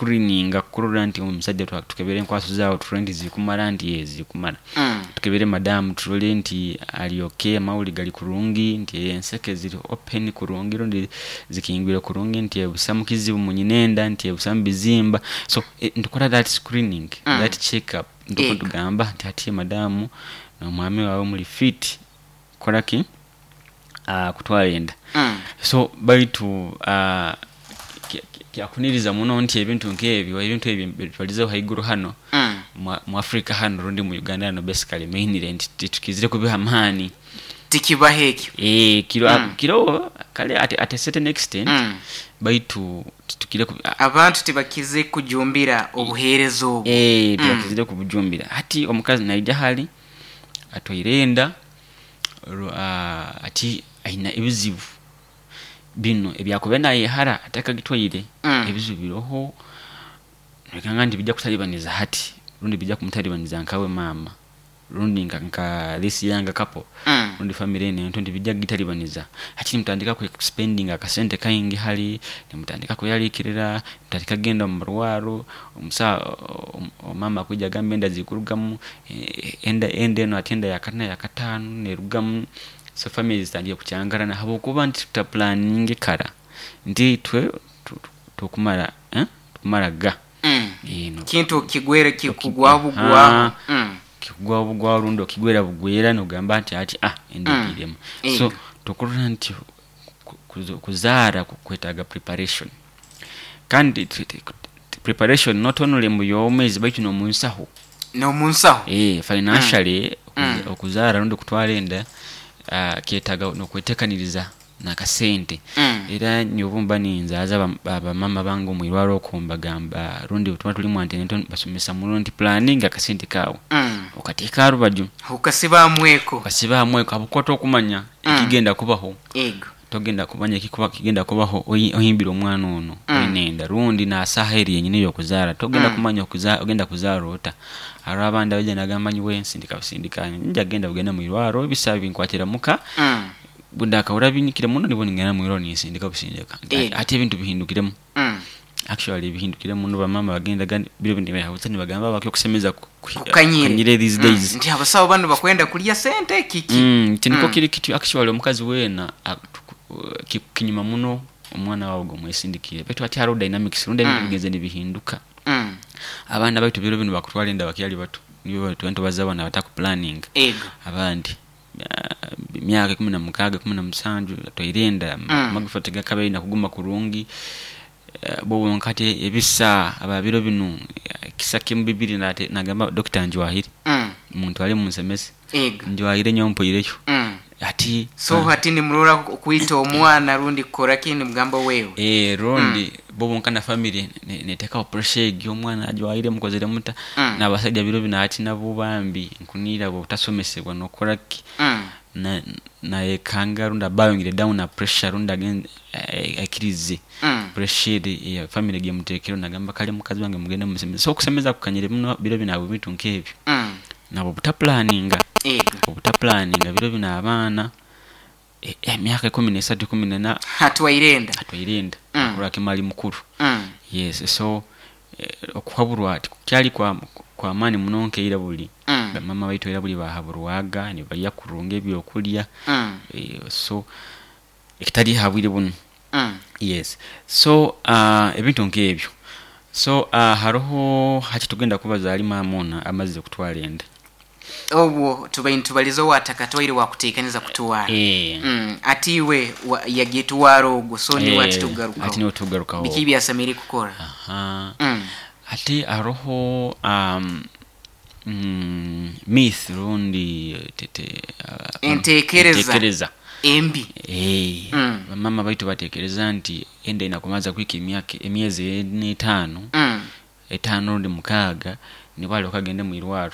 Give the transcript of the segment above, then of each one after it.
Kuscreeninga kurora nti omusajja tukebere enkwaso zaawe turole nti zikumara, nti yee zikumara. Tukebere madamu turole nti ali okay, amahuri gali kurungi, nti enseke ziri open kurungi rundi zikingwire kurungi, nti busamu kizibu munyinenda, nti busamu bizimba. So nitukora that screening, that check up, nituba nitugamba nti hati madamu n'omwami wawe muri fit kukora ki? Kutwara enda. So baitu kyakuniriza muno nti ebintu nk'ebyo, ebintu ebyo bitwalizeho haiguru hano mu Africa hano rundi mu Uganda hano basically mainly nti titukizire kubiha amaani. Tikibaho ekyo. Kiroho kale at a certain extent, baitu titukire Abantu tibakize kujumbira obuheereza obwo. Tibakizire kubujumbira. Hati omukazi naija hali atwaire enda, ati aine ebizibu binu ebyakubaire nayehara atakagitwaire. Ebizibu biroho noikanga nti bijja kutalibaniza hati rundi bijja kumutalibaniza nkawe maama rundi nka this young couple rundi family enu ento nti bijja kugitalibaniza. Hati nimutandika kuspendinga akasente kaingi hali, nimutandika kweraliikirira, nimutandika kugenda omu marwaro, omusaho maama akwija agambe enda zikurugamu, enda enu hati enda yakana yakataano nerugamu. So family zitandikire kukyankarana habwokuba nti tutaplanninge kara nti itwe tukumara tukumara ga. Kintu kigwere kikugwaho bugwaho. Kikugwaho bugwaho rundi okigwera bugwera nogamba nti hati enda egiiremu. So tukurora nti kuzaara kwetaaga preparation, kandi preparation not only mu by'obwomeezi baitu n'omunsaho. N'omunsaho. Financially okuzaara rundi kutwara enda kyetaaga n'okwetekaniriza n'akasente. Era nyowe obu mba ninzaaza bamaama bange omu irwarro oku mbagamba rundi obu tuba tuli mu antenatal mbasomesa muno nti pulaninga akasente kaawe okateeke ha rubaju. Okasiba ha mweko. Okasibe ha mweko habwokuba tokumanya ekigenda kubaho. Togenda kumanya ekigenda kubaho ohimbire omwana onu oine enda rundi na saaha eri yenyini ey'okuzaara togenda kumanya ogenda kuzaara ota. Haroho abandi abaija nagamba nyowe nsindika busindika ningya kugenda bugenda mwirwarro ebisaho binkwatira muka, bundakahurra binyikire muno nibwo ningenda mwirwarro ninsindika busindika. Hati ebintu bihindukiremu, actually bihindukire muno bamaama bagendaga biro binu nibagamba ekyokusemeza kukanyire these days. Nti abasaho banu bakwenda kulya sente kiki? Nti nikwo kiri kityo. Actually omukazi weena kinyuma muno omwana wawe ogwomwesindikiire, baitu hati haroho dynamics rundi ebintu bigenzere nibihinduka. Abaana baitu biro binu bakutwara enda bakyali bato, nibo tuba nitubaza banu abatakuplanninga. Abandi emyaka 16, 17 atwaire enda, amagufa tigakabaire naguma kurungi. Bo bonka hati ebisa aba biro binu ekisa kimu bibiri nagamba dokita njwahire, muntwale munsemeze, njwahire nyowe mpoireyo. Hati So hati nimurora kwita omwana rundi kukora ki nimugamba wewe. Rundi bo bonka na family neteekaho pressure egi, omwana ajwaire mukozere muta? N'abasaija biro binu hati nabo bambi nkunihira obutasomesebwa n'okukora ki, nayekanga rundi aba ayongire down ha pressure rundi aikirize pressure eri eya family egi emuteekireho nagamba kale mukazi wange mugende mumusemeze. So okusemeza kukanyire muno biro binu habw'ebintu nk'ebyo nabw'obutaplanninga, obutaplanninga biro binu abaana emyaka 13, 14 Atwaire enda. Atwaire enda akurora kimu ali mukuru. Yes, so okuhaburwa tikukyali kw'amaani muno nkaira buli. Bamaama baitu ira buli bahaburwaga nibalya kurungi ebyokulya, so ekitali ha bwire bunu. Yes, so ebintu nk'ebyo. So haroho hati tugenda kubaza hali maama onu amazire kutwara enda. Obwo tubaire nitubaliza owatakatwaire wakuteekaniza kutwara. Ati iwe yagitwara ogwo, so niwe ati tugarukaho. Hati niwe tugarukaho. Biki ebyasemeriire kukora? Hati haroho myth rundi Enteekereza enteekereza embi. Bamaama baitu bateekereza nti enda ine kubanza kuhika emyaka emyezi ena etaano, etaano rundi mukaaga nibwo alyoke agende mwirwarro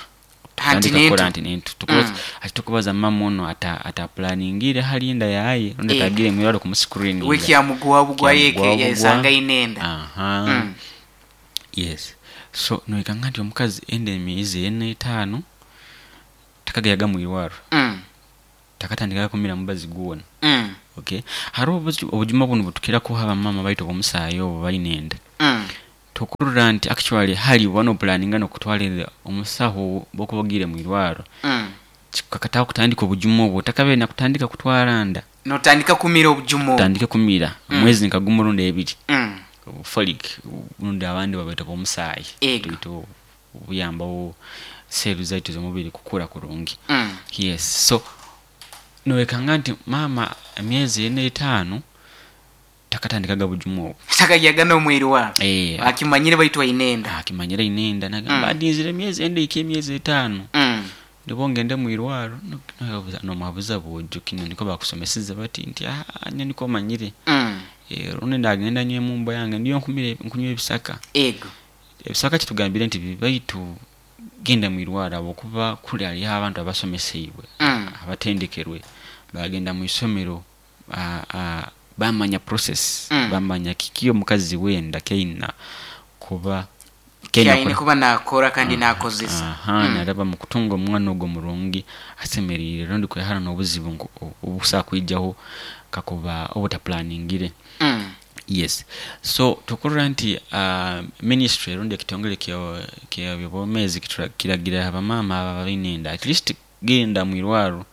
Antenatal. kutandika kukora antenatal. Hati tukubaza maama onu ataplaningire hali enda yaye rundi atagiire mwirwarro kumuscreeninga. We kyamugwaho bugwa yeke Kyamugwaho bugwa. Yayesanga aine enda. Yes. So noikanga nti omukazi enda emyezi ena etaano takagayaga mwirwarro. Takatandikaga kumira mubazi gwona. Okay. Haroho obujuma bunu obutukira kuha bamaama baitu obw'omusaayi obu baine enda. Tukurora nti actually hali oba nopulaninga nokutwara enda, omusaho bwokuba ogiire mwirwaro kikukakataho kutandika obujumu obwo otakabaire nakutandika kutwara nda. Notandika kumira obujumu obwo. Otandike kumira omwezi nka gumu rundi ebiri, obu folic rundi abandi babweta obw'omusaayi baitu buyambaho seeru zaitu ez'omubiri kukura kurungi. Yes, so nowekanga nti maama emyezi ena etaano takatandikaga bujumu obwo. Takagyaga n'omwirwaro. Akimanyire baitu aine enda. Akimanyire aine enda nagamba ndinzire emyezi enda ehike emyezi etaano nibwo ngende mwirwaro. Nomuhabuza bwojo kinu nikwo bakusomeseze bati nti aah nyowe nikwo manyire. Rundi nagenda nywa emumbo yange ndiyo nkunywa ebisaka. Ebisaka titugambire nti bibi baitu genda mwirwaro habwokuba kuli haliyo abantu abasomeseibwe, abatendekerwe bagenda mwisomero bamanya process, bamanya kiki omukazi wenda kyaina kuba Kyaine kuba nakora kandi nakozesa. Naraba mukutunga omwana ogu omurungi asemeriire rundi kwehara n'obuzibu obukusobora kwijaho kakuba oba otapulaningire. Yes, so tukurora nti ministry rundi ekitongole ky'ebyobwomezi kiragira abamaama abo abaine enda at least genda mwirwaro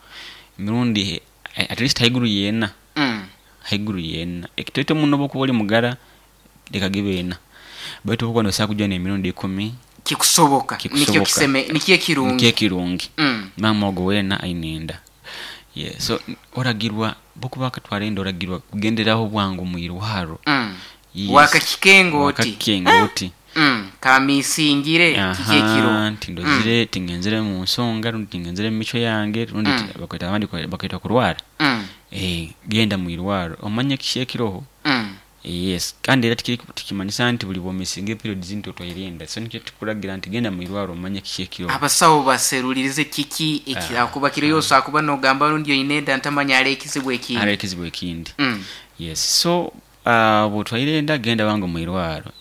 emirundi at least haiguru y'ena, haiguru y'ena. Ekitoito muno obu okuba ori mugara leka gibe ena, baitu obu okuba nosobola kugya n'emirundi ikumi Kikusoboka, kikusoboka, nikyo ekirungi. Nikyo ekirungi. Maama ogu weena aine enda. Yeah, so oragirwa bwokuba wakatwara enda oragirwa kugenderaho bwangu mwirwaro. Yes. Wakakikenga oti. Wakakikenga oti. Kamisingire kiki ekiro. Aha, nti ndozire tingenzere mu nsonga rundi tingenzere mu micwe yange rundi bakweta abandi bakweta kurwara. Genda mwirwaro omanye kiki ekiroho. Yes, kandi era tikimanyisa nti buli bwomisinga periods nti otwaire enda, so nikyo tukuragira nti genda mwirwaro omanye kiki ekiroho. Abasawo baserulirize kiki ekirakuba kiriyo, osobola kuba nogamba rundi oine enda ntamanya hariho ekizibu ekindi. Hariho ekizibu ekindi. Yes, so bwotwaire enda genda wange omwirwaro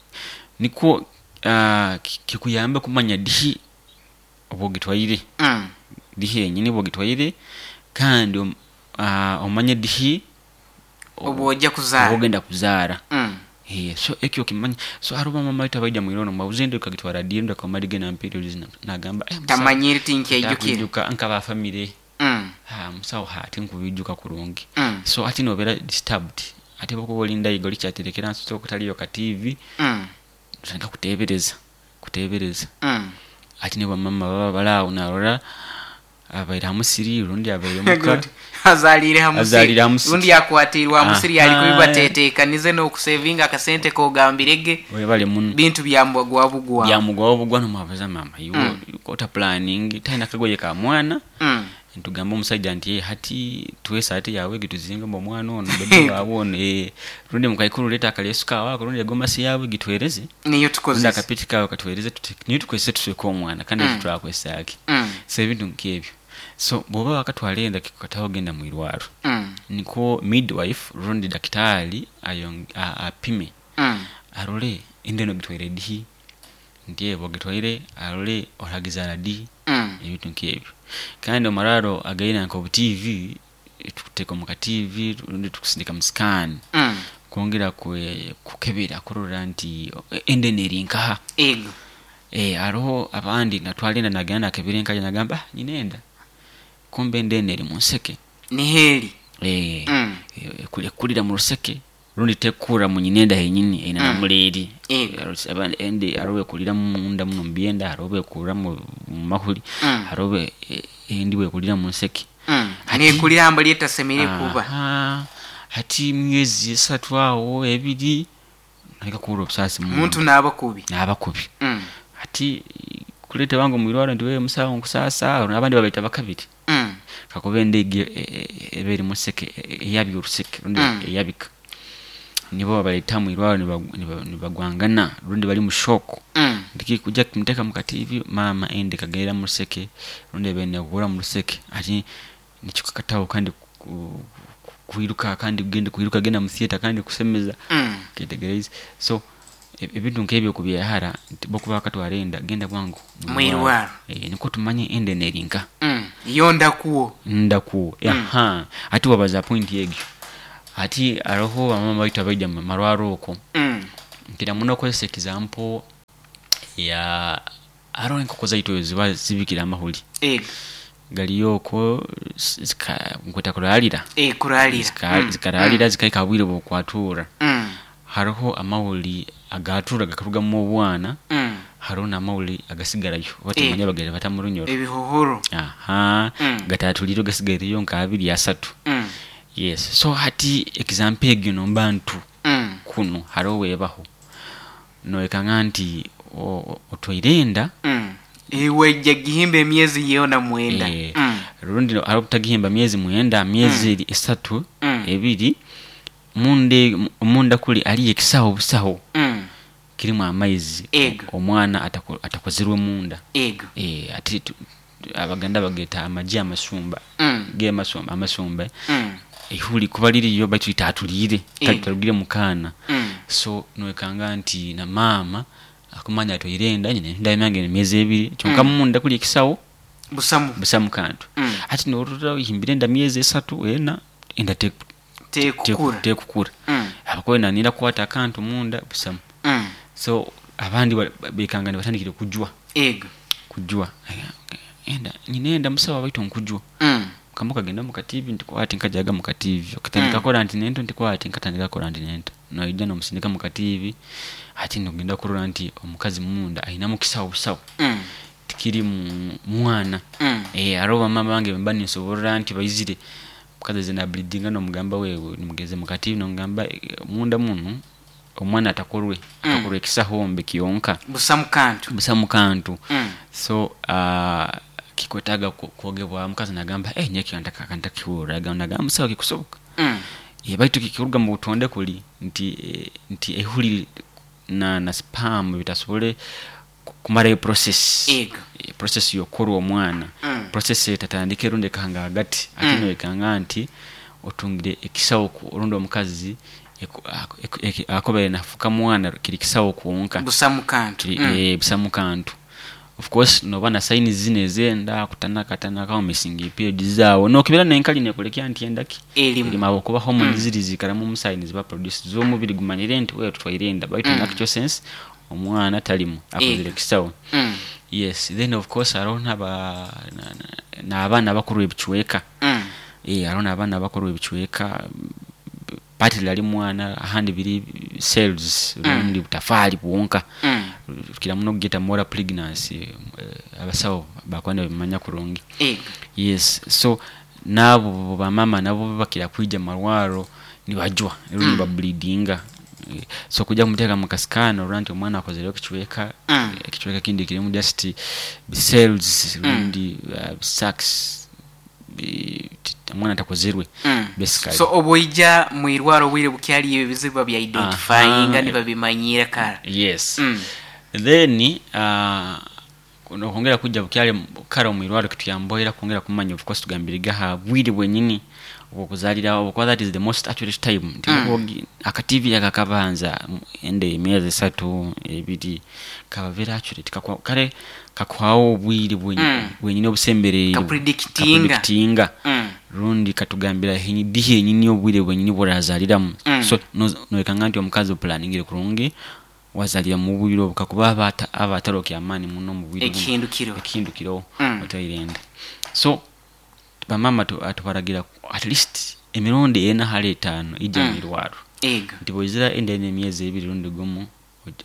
nikwo kikuyambe kumanya dihi obwogitwaire, dihi yenyini obwogitwaire kandi omanye dihi Obwoja kuzaara. Obwogenda kuzaara. So ekyo okimanye. So haroho bamama baitu abaija mwirwaro nomubabuza enda okagitwara di rundi akaba amarire na periods nagamba musawo Tamanyire tinkyaijukire. Takwijuka nkaba family. Musawo tinkubijuka kurungi. So hati nobera disturbed. Hati bwokuba ori ndaiga orikyaterekera nsi okutaliyo ka TV, otandika kutebereza, kutebereza. Hati nibo bamama baba bari aho narora abaire ha musiri rundi abaire muka. Azaliire ha musiri. Azaliire ha musiri. Rundi akwatiirwe ha musiri ali kubi batetekanize n'okusevinga akasente kogambire ge. Webale muno. Bintu byamugwaho bugwa. Byamugwaho bugwa nomuhabuza mama iwe ota planning talina kagoye ka mwana. Nitugamba omusaija nti hati tuwe esaati yawe egi tuzingemu omwana onu bebi wawe onu rundi mukaikuru leeta akaleesu kawe ako rundi egomasi yawe gituhereze. Niyo Rundi tukozese. akapiki kawe katuhereze tuti niyo tukozese tusweke omwana kandi ekyo turakozesa ki? So ebintu nk'ebyo. So bwoba wakatwara enda kikukataho genda mwirwaro. Nikwo midwife rundi dakitaali apime arole enda enu ogitwaire dihi, nti bwogitwaire arole oragizaara di, ebintu nk'ebyo. Kandi omu marwaro againe nka obu TV, tukuteeka omu ka TV rundi tukusindika mu scan kwongera kukebera kurora nti enda enu eri nkaha. Haroho abandi natwara enda nagenda nakebera enkaye nagamba nyine enda, kumbe enda enu eri mu nseke. Niho eri. Ekurira mu ruseke rundi tekura mu nyina enda henyini eine na muleeri. Enda haroho bwekurira munda muno omu byenda, haroho bwekurira mu mahuri, haroho endi bwekurira mu nseke. Nekurira hambali etasemeriire kuba. Hati emyezi esatu aho ebiri naleka kuhurra obusaasi munda. Omuntu naaba kubi. Naaba kubi. Hati kuleeta wange omwirwaro nti musawo nkusaasa, abandi babaita bakabiri. Kakuba enda egi eba eri museke eyabya oruseke rundi eyabika. Nibo babaleta mwirwaro nibagwangana rundi bari mu shock. Tikikuja kumuteka mu ka TV maama enda ekagenda mu ruseke rundi ebaire nekura mu ruseke. Hati nikikukataho kandi kwiruka kandi kwiruka genda mu theatre kandi kusemeza. Kyetegereize. So ebintu nk'ebyo kubyehara nti bwokuba wakatwara enda genda bwangu mwirwaro. Nikwo tumanye enda enu eri nkaha. Yo ndakuwo. Ndakuwo. Hati wabaza point egyo. Hati haroho bamama baitu abaija mu marwaro okwo. Nkira muno kukozesa example ya haroho enkoko zaitu eziba zibikire amahuri, gariyo okwo nkweta kurarira, Kurarira. Zikararira zikahika ha bwire bw'okwatura. Haroho amahuri agatura gakarugamu obwana, haroho n'amahuri agasigarayo oba tumanya bagenda bata mu runyoro. Ebihohoro. Aha, gataturire gasigaireyo nka abiri asatu. Yes, so hati example egyo nomba ntu kunu haroho webaho noyekanga nti otwaire enda. Iwe gihimba emyezi yona 9. Rundi hariho obutagihimba myezi 9, myezi 3, 2, munda kuli haliyo ekisaho busaho kirimu amaizi, omwana atakozirwe munda. Ati Abaganda bageta amagi amasumba, ge amasumba, ihuri kuba liriyo baitu litatulire, tarugire mukaana. So noyekanga nti na maama akumanya atwaire enda, nyine enda yange emyezi 2, kyonka munda kuli ekisaho busamu, busamu kantu. Ati norora ohimbire enda myezi 3, 4, enda tekukura, tekukura. Abakuba nanira kukwata akantu munda busamu. So abandi bekanga nibatandikire kujwa. Kujwa. Enda nyine enda musawo baitu nkujwa. Kama kagenda mu kativi ntikwati nkajaga mu kativi. Okatandika kora nti nento ntikwati nkatandika kora nti nento. Noija nomusindika mu kativi ati nogenda kurora nti omukazi munda aina mukisawo busawo. Tikiri mwana. Aroba mama bange mba ninsoborora nti baizire mukazi zina bleedinga nomugamba wewe nimugeze mu kativi nomugamba munda munu omwana atakorwe, atakorwe ekisaho mbe kiyonka. Busamu kantu. Busamu kantu. So kikwetaga kwogebwa mukazi nagamba nyeki ntakihura, nagamba musawo kikusoboka. Baitu kikiruga mu butonde kuli nti ehuri na spam bitasobole kumara process. Process yokorwa omwana. Process etatandike runde kahanga hagati. Ati noyekanga nti otungire ekisawo rundi omukazi akobere nafuka mwana kiri kisawo kuonka. Busamu kantu. Busamu kantu. Of course noba na signs zine zenda kutanaka tanaka missing period zawo nokibera nenkali nekulekya nti endaki elimu abo kuba hormones ziri zikaramu mu signs ba produce z'omubiri gumanyire nti wewe tutwaire enda baitu in actual sense omwana talimu akozire kisawo. Yes, then of course hariho n'abaana bakuru ebichweka. Hariho n'abaana bakuru ebichweka partly ali mwana ahandi biri cells rundi butafali bwonka. Kira muno kugeta molar pregnancy, abasawo bakwanda bimanya kurungi. Yes, so nabo bamama nabo bakira kuija marwaro nibajwa rundi bableedinga. So kuja kumuteka mu kasikano rundi omwana akozere ekichweka, ekichweka kindi kirimu just cells rundi sacs omwana atakozerwe. Basically. So oboija mwirwaro bwire bukyali ebizibu bya identifying nibabimanyira kara. Yes. Then nokongera kuja bukyali kara omwirwaro kituyamboera kwongera kumanya of course tugambiriga ha bwire bwenyini obukuzalira obukuba that is the most accurate time. Akativi akakabanza ende emyezi 3 2 kaba very accurate kare kakwawo obwire bwenyini obusembereye kapredictinga. Rundi katugambira dihe nyini obwire bwenyini burazaliramu. So noyekanga nti omukazi oplaningire kurungi wazalira mu bwire obukakuba abataro amani muno mu bwire ekihindukiro otairenda. So bamama atubaragira at least emirundi 4 hali 5 ija mwirwaro. Nti boizira ende emyezi 2 rundi gumu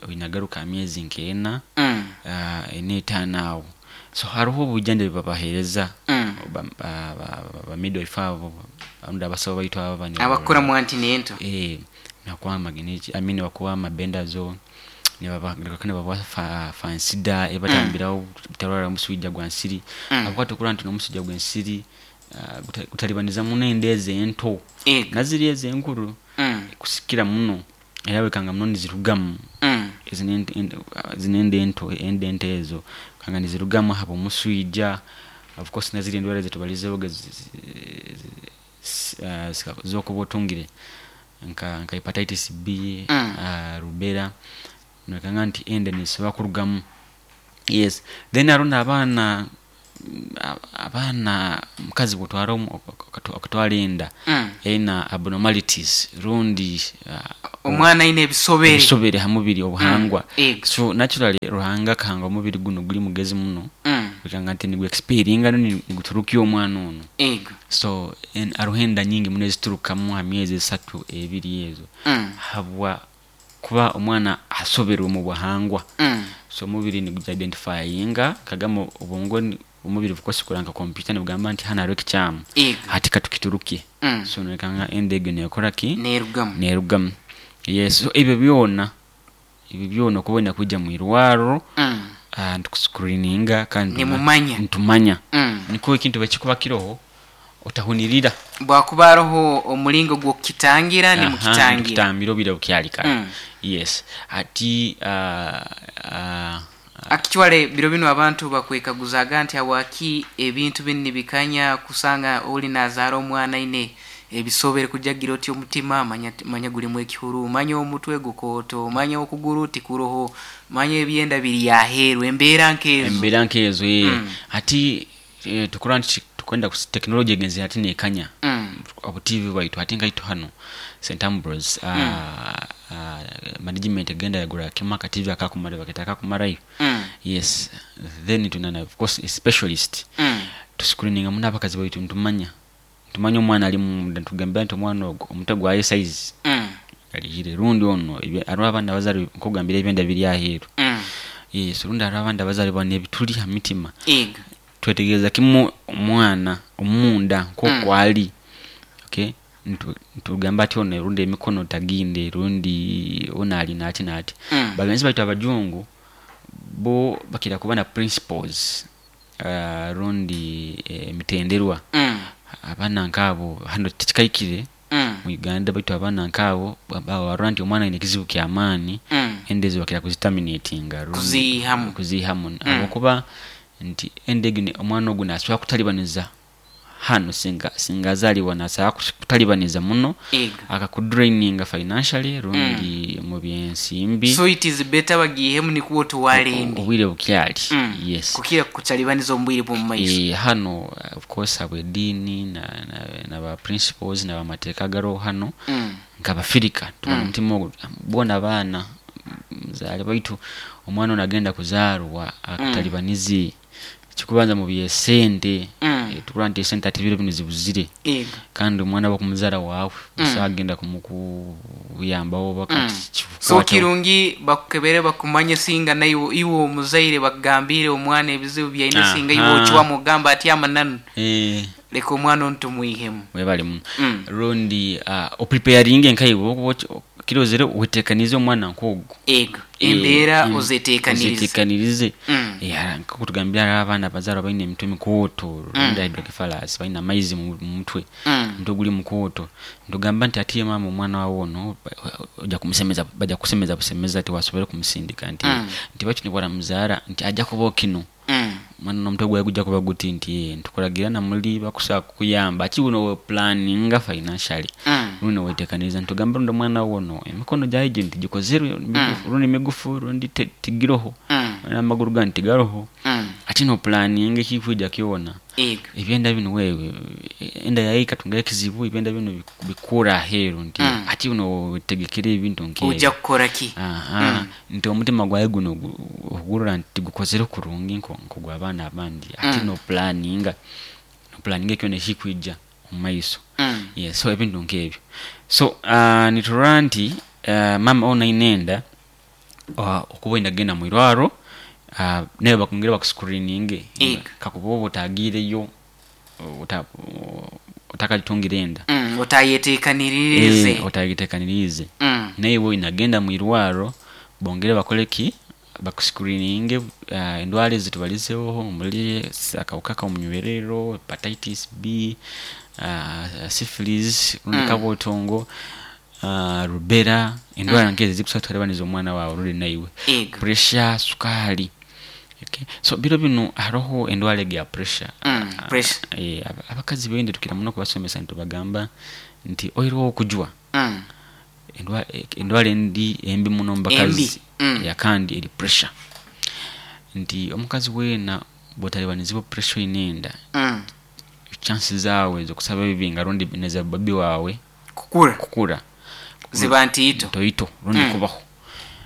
oinagaruka myezi nkena ene 5 awo. So hariho obujjanjabi babahereza ba midwife abo rundi abasawo baitu abo bani abakora mu antinento nakuwa mageneki amini bakuwa mabendazo nibaba fansida ebatambirawo butarwara omusujja gwa nsiri. Abakwata okulaba nti n'omusujja gw'ensiri gutalibaniza muno enda ezo ento naziri ezo enkuru kusikira muno era wekanga muno nizirugamu zinenda ento enda ento ezo kanga nizirugamu haba omusujja. Of course naziri endwara zetubalizeho zokuba otungire nka hepatitis B, rubella nokanga nti enda nisobola kurugamu. Yes, then hariho n'abaana Abaana, omukazi bwotwara okatwara enda eyina abnormalities rundi Omwana aine ebisobere. Ebisobere ha mubiri obuhangwa. Ego. So naturally Ruhanga akahanga omubiri gunu guri mugezi muno kugamba nti nigu expellinga niguturukya omwana onu. Ego. So haroho enda nyingi muno eziturukamu ha myezi esatu, ebiri ezo habwa kuba omwana asoberwe omu buhangwa. So omubiri nigugi identifyinga kagamba obwongo omubiri of course gukora nka computer nibugamba nti hanu haroho ekikyamu Ego. hati katukiturukye. So noikanga enda egyo nekora ki? Nerugamu. Nerugamu. Yes, so ebyo byona okuba oyina kwija mwirwaro nitukuscreeninga kandi Nimumanya. nitumanya. Nikwo ekintu bwekikuba kiroho otahunirira. Bwakuba haroho omulingo gw'okukitangira nimukitangira. Nitukitambira obwire bukyali kare. Yes. Hati Actually biro binu abantu bakwekaguzaga nti habwaki ebintu binu nibikanya kusanga oli nazaara omwana aine ebisobere kujagira oti omutima manya gulimu ekihuru, manya omutwe gukooto, manya okuguru tikuroho, manya ebyenda biri aheeru, embeera nkezo. Embeera nkezo. Hati tukura nti tukwenda technology egenze hati nekanya. Obu TV bwaitu hati nkaitu hano St Ambrose management egenda yagura kimu aka TV akakumara baketa akakumarayo. Yes, then tunana of course a specialist. Tuscreeninga muno abakazi baitu ntumanya. Ntumanya omwana ali munda ntugambira nti omwana ogwo omutwe gwaye size. Alihire rundi ono hariho abaana abazarwa nkugambira ebyenda biri aheeru. Yes, rundi hariho abandi abazarwa n'ebituli ha mitima. Ego. Twetegereza kimu omwana omunda nk'oku ali. Okay? Ntugamba ati ono rundi emikono taginde rundi ono ali nati nati. Bagenzi baitu abajungu bo bakira kuba na principles rundi emitenderwa. Abaana nk'abo hano tikikaikire mu Uganda baitu abaana nk'abo barora nti omwana aine ekizibu ky'amaani enda ezo bakira kuziterminatinga rundi Kuziihamu. Kuziihamu. Habwokuba nti enda egi omwana ogu nasobola kutalibaniza hano singa azaalibwa nasobola kutalibaniza muno Ego. akakudraininga financially rundi mu byensimbi. So it is better bagihemu nikuwo tuwalende. Obwire bukyali. Yes. Kukira kutalibaniza omubwire bw'omu maiso. Hano of course habw'eddiini na ba principles na bamateeka agaroho hano nk'Abafirika tubona omutima ogwo boona abaana muzaale baitu omwana ono agenda kuzaarwa akatalibanize kikubanza mu byesente. Tukurora nti esente ati ebiro binu zibuzire. Ego. Kandi omwana bw'okumuzaara waawe osagenda kumukuyambaho oba kati So kirungi bakukebere bakumanye singa naiwe iwe omuzaire bakugambire omwana ebizibu byaine singa iwe okiwamu ogamba ati amananu. Leka omwana onu tumwihemu. Webale muno. Rundi opreparinge nkaiwe kirozere weteekanize omwana nk'ogwo. Ego. Embeera ozeteekanirize. Ozeteekanirize. Nk'oku tugambira hariho abaana bazaarwa baine emitwe mikooto, rundi hydrocephalus, baine amaizi mu mutwe. Omutwe guri mukooto. Ntugamba nti ati maama omwana wawe ono ojja kumusemeza, bajja kusemeza busemeza tiwasobora kumusindika nti nti baitu nibwaramuzaara nti ajja kuba kino. Omwana n'omutwe gwawe gujja kuba guti nti ntukuragira na muli bakusobola kukuyamba aki buno planninga financially. Rundi weteekaniriza ntugamba rundi omwana wawe ono emikono gyawe gi nti gikozerwe rundi migufu rundi tigiroho. N'amaguru gandi tigaroho. Ati no planninga ekikwija kyona. Ego. Ebyenda binu wewe enda yawe ikatunga ekizibu ebyenda binu bikura aheeru nti ati buno wetegekere ebintu nk'ebyo. Ojja kukora ki? Nti omutima gwawe guno ogurora nti gukozere kurungi nk'ogw'abaana abandi. Ati no planninga. No planninga ekyona ekikwija omu maiso. Yes, so ebintu nk'ebyo. So niturora nti mama ono aine enda okuba oyina kugenda mu irwaro nawe bakongere bakuscreeninge. Ego. Kakuba oba otagiireyo otakagitungire enda. Otayeteekanirize. Otayeteekanirize. Nawe oyina kugenda mu irwaro bongere bakole ki? Bakuscreeninge endwara ezi tubalizeho omuli akawuka k'omunywerero, hepatitis B, syphilis, rundi kabotongo, rubella, endwara nk'ezo ezikusobola kutalibaniza omwana wawe rundi naiwe. Ego. Pressure, sukaali. Okay. So biro binu haroho endwara egi ya pressure. Pressure. Abakazi bende tukira muno kubasomesa ntubagamba nti oirwo okujwa. Endwara endi embi muno mu bakazi. Embi. Ya kandi eri pressure. Nti omukazi weena Bwotalibanizibwa pressure oine enda, chances zaawe ez'okusaba ebibinga rundi neza babi wawe kukura kukura ziba ntiito. Ntoito rundi kubaho,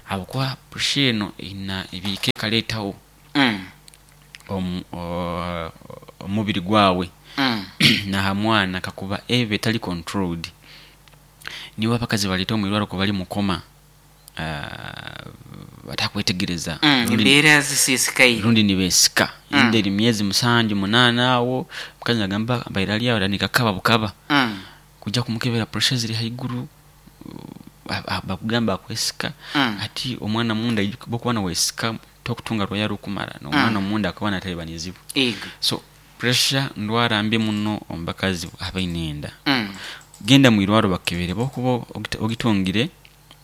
habwokuba pressure eno eyina ebiika ekaleetaho omubiri gwawe naha mwana kakuba eba etali controlled. Nibo abakazi baleeta omwirwaro kuba bali mukoma, batakwetegereza. Embeera zisiisikaire. Rundi nibeesika. Enda eri myezi 7, 8 awo, omukazi nagamba mbaire ali awo atandika kukaba bukaba. Kujja kumukebera pressure ziri haiguru, bakugamba akwesika. Ati omwana munda, bwokuba nowesika tokutunga rwaya rukumara, n'omwana omunda akaba natalibanizibwa. So pressure ndwara mbi muno omu bakazi abaine enda. Genda mwirwaro bakebere, bokuba ogitungire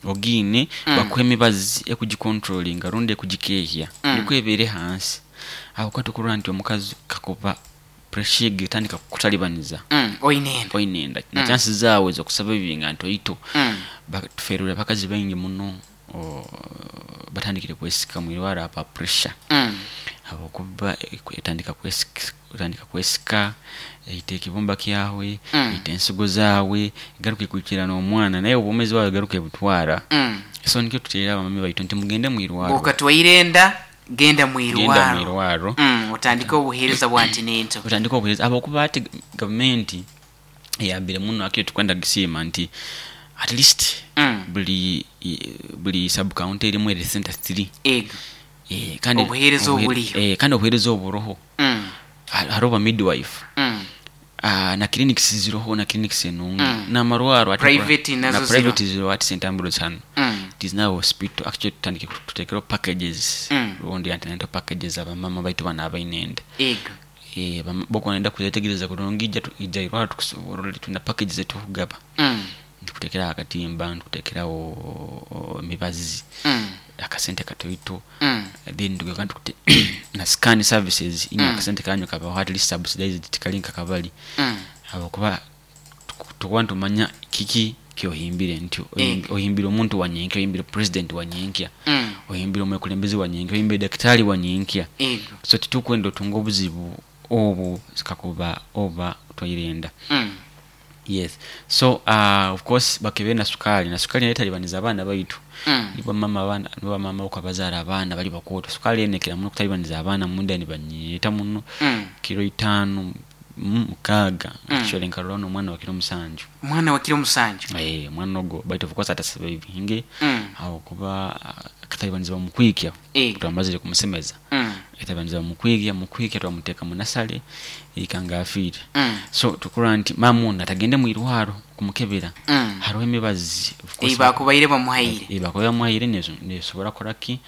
ogiine, bakuha emibazi ekugikontrolinga rundi ekugikehya, nikwo ebeere hansi, habwokuba tukurora nti omukazi kakuba pressure egi etandika kukutalibaniza oine enda, oine enda, na chances zaawe ez'okusaba ebibinga ntoito. Tuferire abakazi baingi muno batandikire kwesika mwirwaro aba pressure, habwokuba etandika kwesika, etandika kwesika, eita ekibumba kyawe, eita ensigo zaawe, egaruka ekwikira n'omwana, naye obwomeezi bwawe egaruka ebutwara. So nikyo tuteerera abamami baitu nti mugende mwirwaro. Bwokatwaire enda, genda Genda mwirwaro. Mwirwaro. Otandike obuheereza bwa antenatal. Otandike obuheereza, habwokuba ati gavumenti eyambire muno, akire tukwenda gisiima nti at least buli sub county erimu health center 3. Kandi obuheereza obuliyo. Kandi obuheereza oburoho. Hariho ba midwife. Na clinics ziroho, na clinics enungi, n'amarwaro private nazo na ziro. Private ziro ati St Ambrose hano. It is now hospital actually. Tutandike tutekereho packages rundi antenatal packages abamama baitu bano abaine enda. Bokuba nenda kuzetegereza kurungi, ija irwaro tukusoborole, tulina packages zetukugaba. Ntukutekeraho akatimba, ntukutekeraho emibazi, akasente katoito, then tugaruka ntukute na scan services inywe, akasente kanyu kabaho at least subsidized, tikali nka kabali, habwokuba tukuba nitumanya kiki kyohimbire nti ohimbire omuntu wa nyenkya, ohimbire president wa nyenkya, ohimbire omwekulembeze wa nyenkya, ohimbire dakitari wa nyenkya. So titukwenda otunga obuzibu obu kakuba oba otwaire enda. Yes, so of course bakebere na sukali, na sukali nayo etalibaniza abaana baitu. Nibo mama abaana, nibo bamama okuba bazaara abaana bali bakooto, sukali eno ekira muno kutalibaniza abaana munda, nibanyeeta muno, kiro 5, 6. Actually nkarora n'omwana wa kiro 7. Omwana wa kiro 7. Omwana ogwo, baitu of course atasurvivinge, habwokuba akatalibanizibwa mukwikya. Twamazire kumusemeza, akatalibanizibwa mukwikya, twamuteeka mu nasale ikanga afiire. So tukurora nti maama ono atagende mwirwaro kumukebera, hariho emibazi of course. Bakubaire bamuhaire. Bakubaire bamuhaire, nesobora kukora ki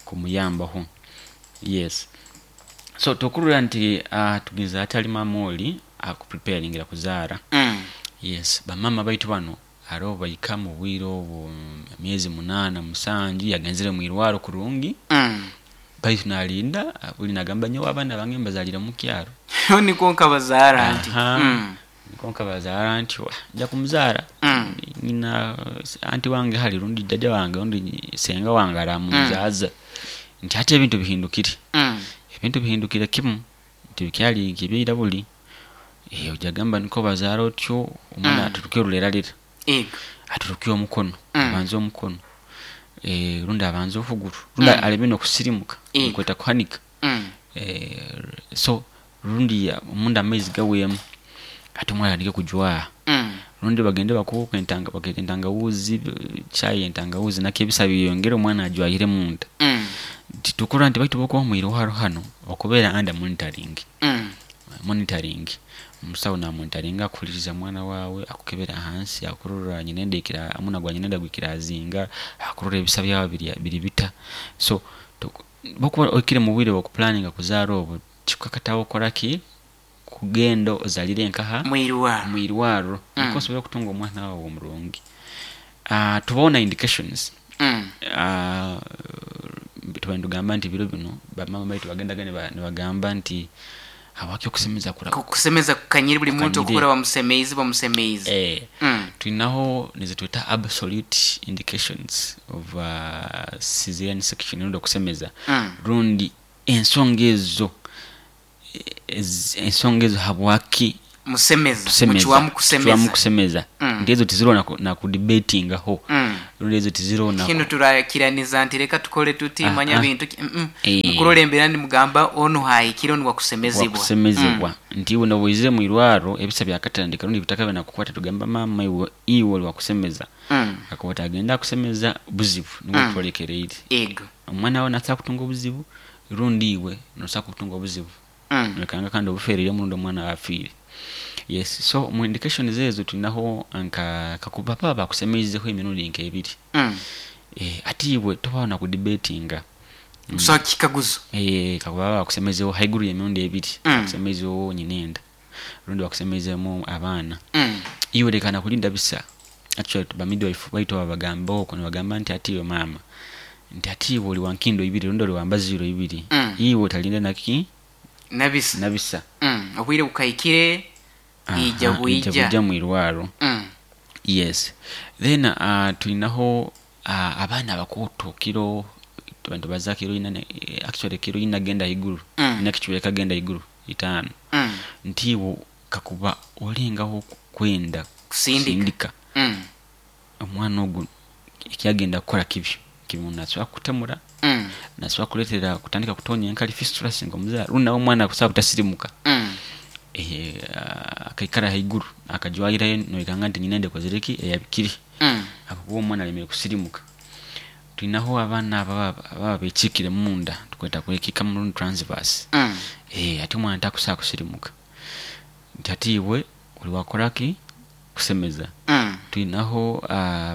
kumuyambaho. Yes, so tukurora nti tugeza atali maama oli akupreparingira kuzaara. Yes, bamama baitu bano hariho bahika mu bwire obu emyezi 8, 7, yagenzere mwirwaro kurungi, baitu nalinda buli nagamba nyowe abaana bange mbazalire mu kyaro. Niko nkabazaara nti. Niko nkabazaara nti nja kumuzaara, nyina anti wange hali rundi jjajja wange rundi senga wange aramuzaaza, nti ate ebintu bihindukire. Ebintu bihindukire kimu nti bikyali nk'ebyaira buli. Ojagamba niko bazaara otyo omwana, aturuke oruleralera, aturuke omukono, abanze omukono, rundi abanze okuguru, rundi aleme n'okusirimuka, nkweta kuhanika. So rundi omunda amaizi gaweemu, ate omwana atandike kujwaha, rundi bagende bakuuka entanga, baketa entangawuzi, chai entangawuzi, nakyo ebisa byeyongere, omwana ajwahire munda. Titukura nti baitu bokuba mwirwaro hano okubeera under monitoring. Monitoring, omusawo namonitoringa, akuhuliriza mwana wawe, akukebera ahansi, akurora nyina enda ekira omuna gwa nyina enda gwikira azinga, akurora ebisa byawe biri bita. So bokuba oikire mu bwire bw'okuplanninga kuzaara obu, kikukakataho okora ki kugenda ozalire nkaha? Mwirwaro. Mwirwaro, niko osobora okutunga omwana wawe omurungi. Tubaho na indications. Tuba nitugamba nti biro bino bamama baitu bagendaga nibagamba nti habwaki okusemeza kura Kusemeza kukanyire buli muntu. Kukanyire. Okukora bamusemeize bamusemeize. Tulinaho nizetweta absolute indications of cesarean section rundi okusemeza, rundi ensonga ezo. Ensonga ezo habwaki Musemeza. Tusemeza. Mucwamu kusemeza. Tucwamu kusemeza. Nti ezo tiziro na kudebatingaho. Rundi ezo tiziro na Kinu turakiraniza nti reka tukole tuti, manya bintu ki-. Mukurora embeera nimugamba onu haikire, onu wakusemezibwa. Wakusemezebwa. Nti iwe nobuizire mu irwaro ebisa byakatandika rundi bitakabe nakukwata, tugamba mama iwe oli wakusemeza. Akakuba tagenda kusemeza buzibu nibwo twolekereire. Omwana wawe nasobola kutunga obuzibu rundi iwe nosobola kutunga obuzibu. Nekanga kandi obuferire omurundi omwana afiire. Yes, so mu indications ezo tulinaho nka kakuba baba bakusemeizeho emirundi nk'ebiri. Ati iwe tobaho na kudebatinga. So kikaguzo. Kakuba baba bakusemeizeho haiguru y'emirundi ebiri. Bakusemeizeho nyinenda rundi bakusemeizemu abaana. Iwe leka nakulinda bisa. Actually ba midwife baitu babagamba okwo nibagamba nti ati iwe mama nti ati iwe oli wankindo ibiri rundi oli wambaziro ibiri. Iwe otalinda naki? Nabisa. Nabisa. Obwire bukaikire, ija bwija. Ija bwija mu irwaro. Yes. Then tulinaho abaana abakoto kiro abantu baza kiro ina, actually kiro ina genda iguru. Ina kichweka genda iguru 5. Ntiwo kakuba olengaho kwenda kusindika. Kusindika. Omwana ogu ekyagenda kukola kibyo. Kibyo nasobola kutemura. Nasobola kuleetera kutandika kutonya enkali fistula singa omuzaara. Rundi nawe omwana akusobola butasirimuka. Akaikara haiguru akajwayirayo noikanga nti nyina ndekozere ki eyabikiri. Akokuba omwana alemere kusirimuka. Tulinaho abaana ababa bekiikire munda tukweta kwekiika mu rundi transverse. Ate omwana takusobola kusirimuka. Nti ate iwe oli wakora ki? Kusemeza. Tulinaho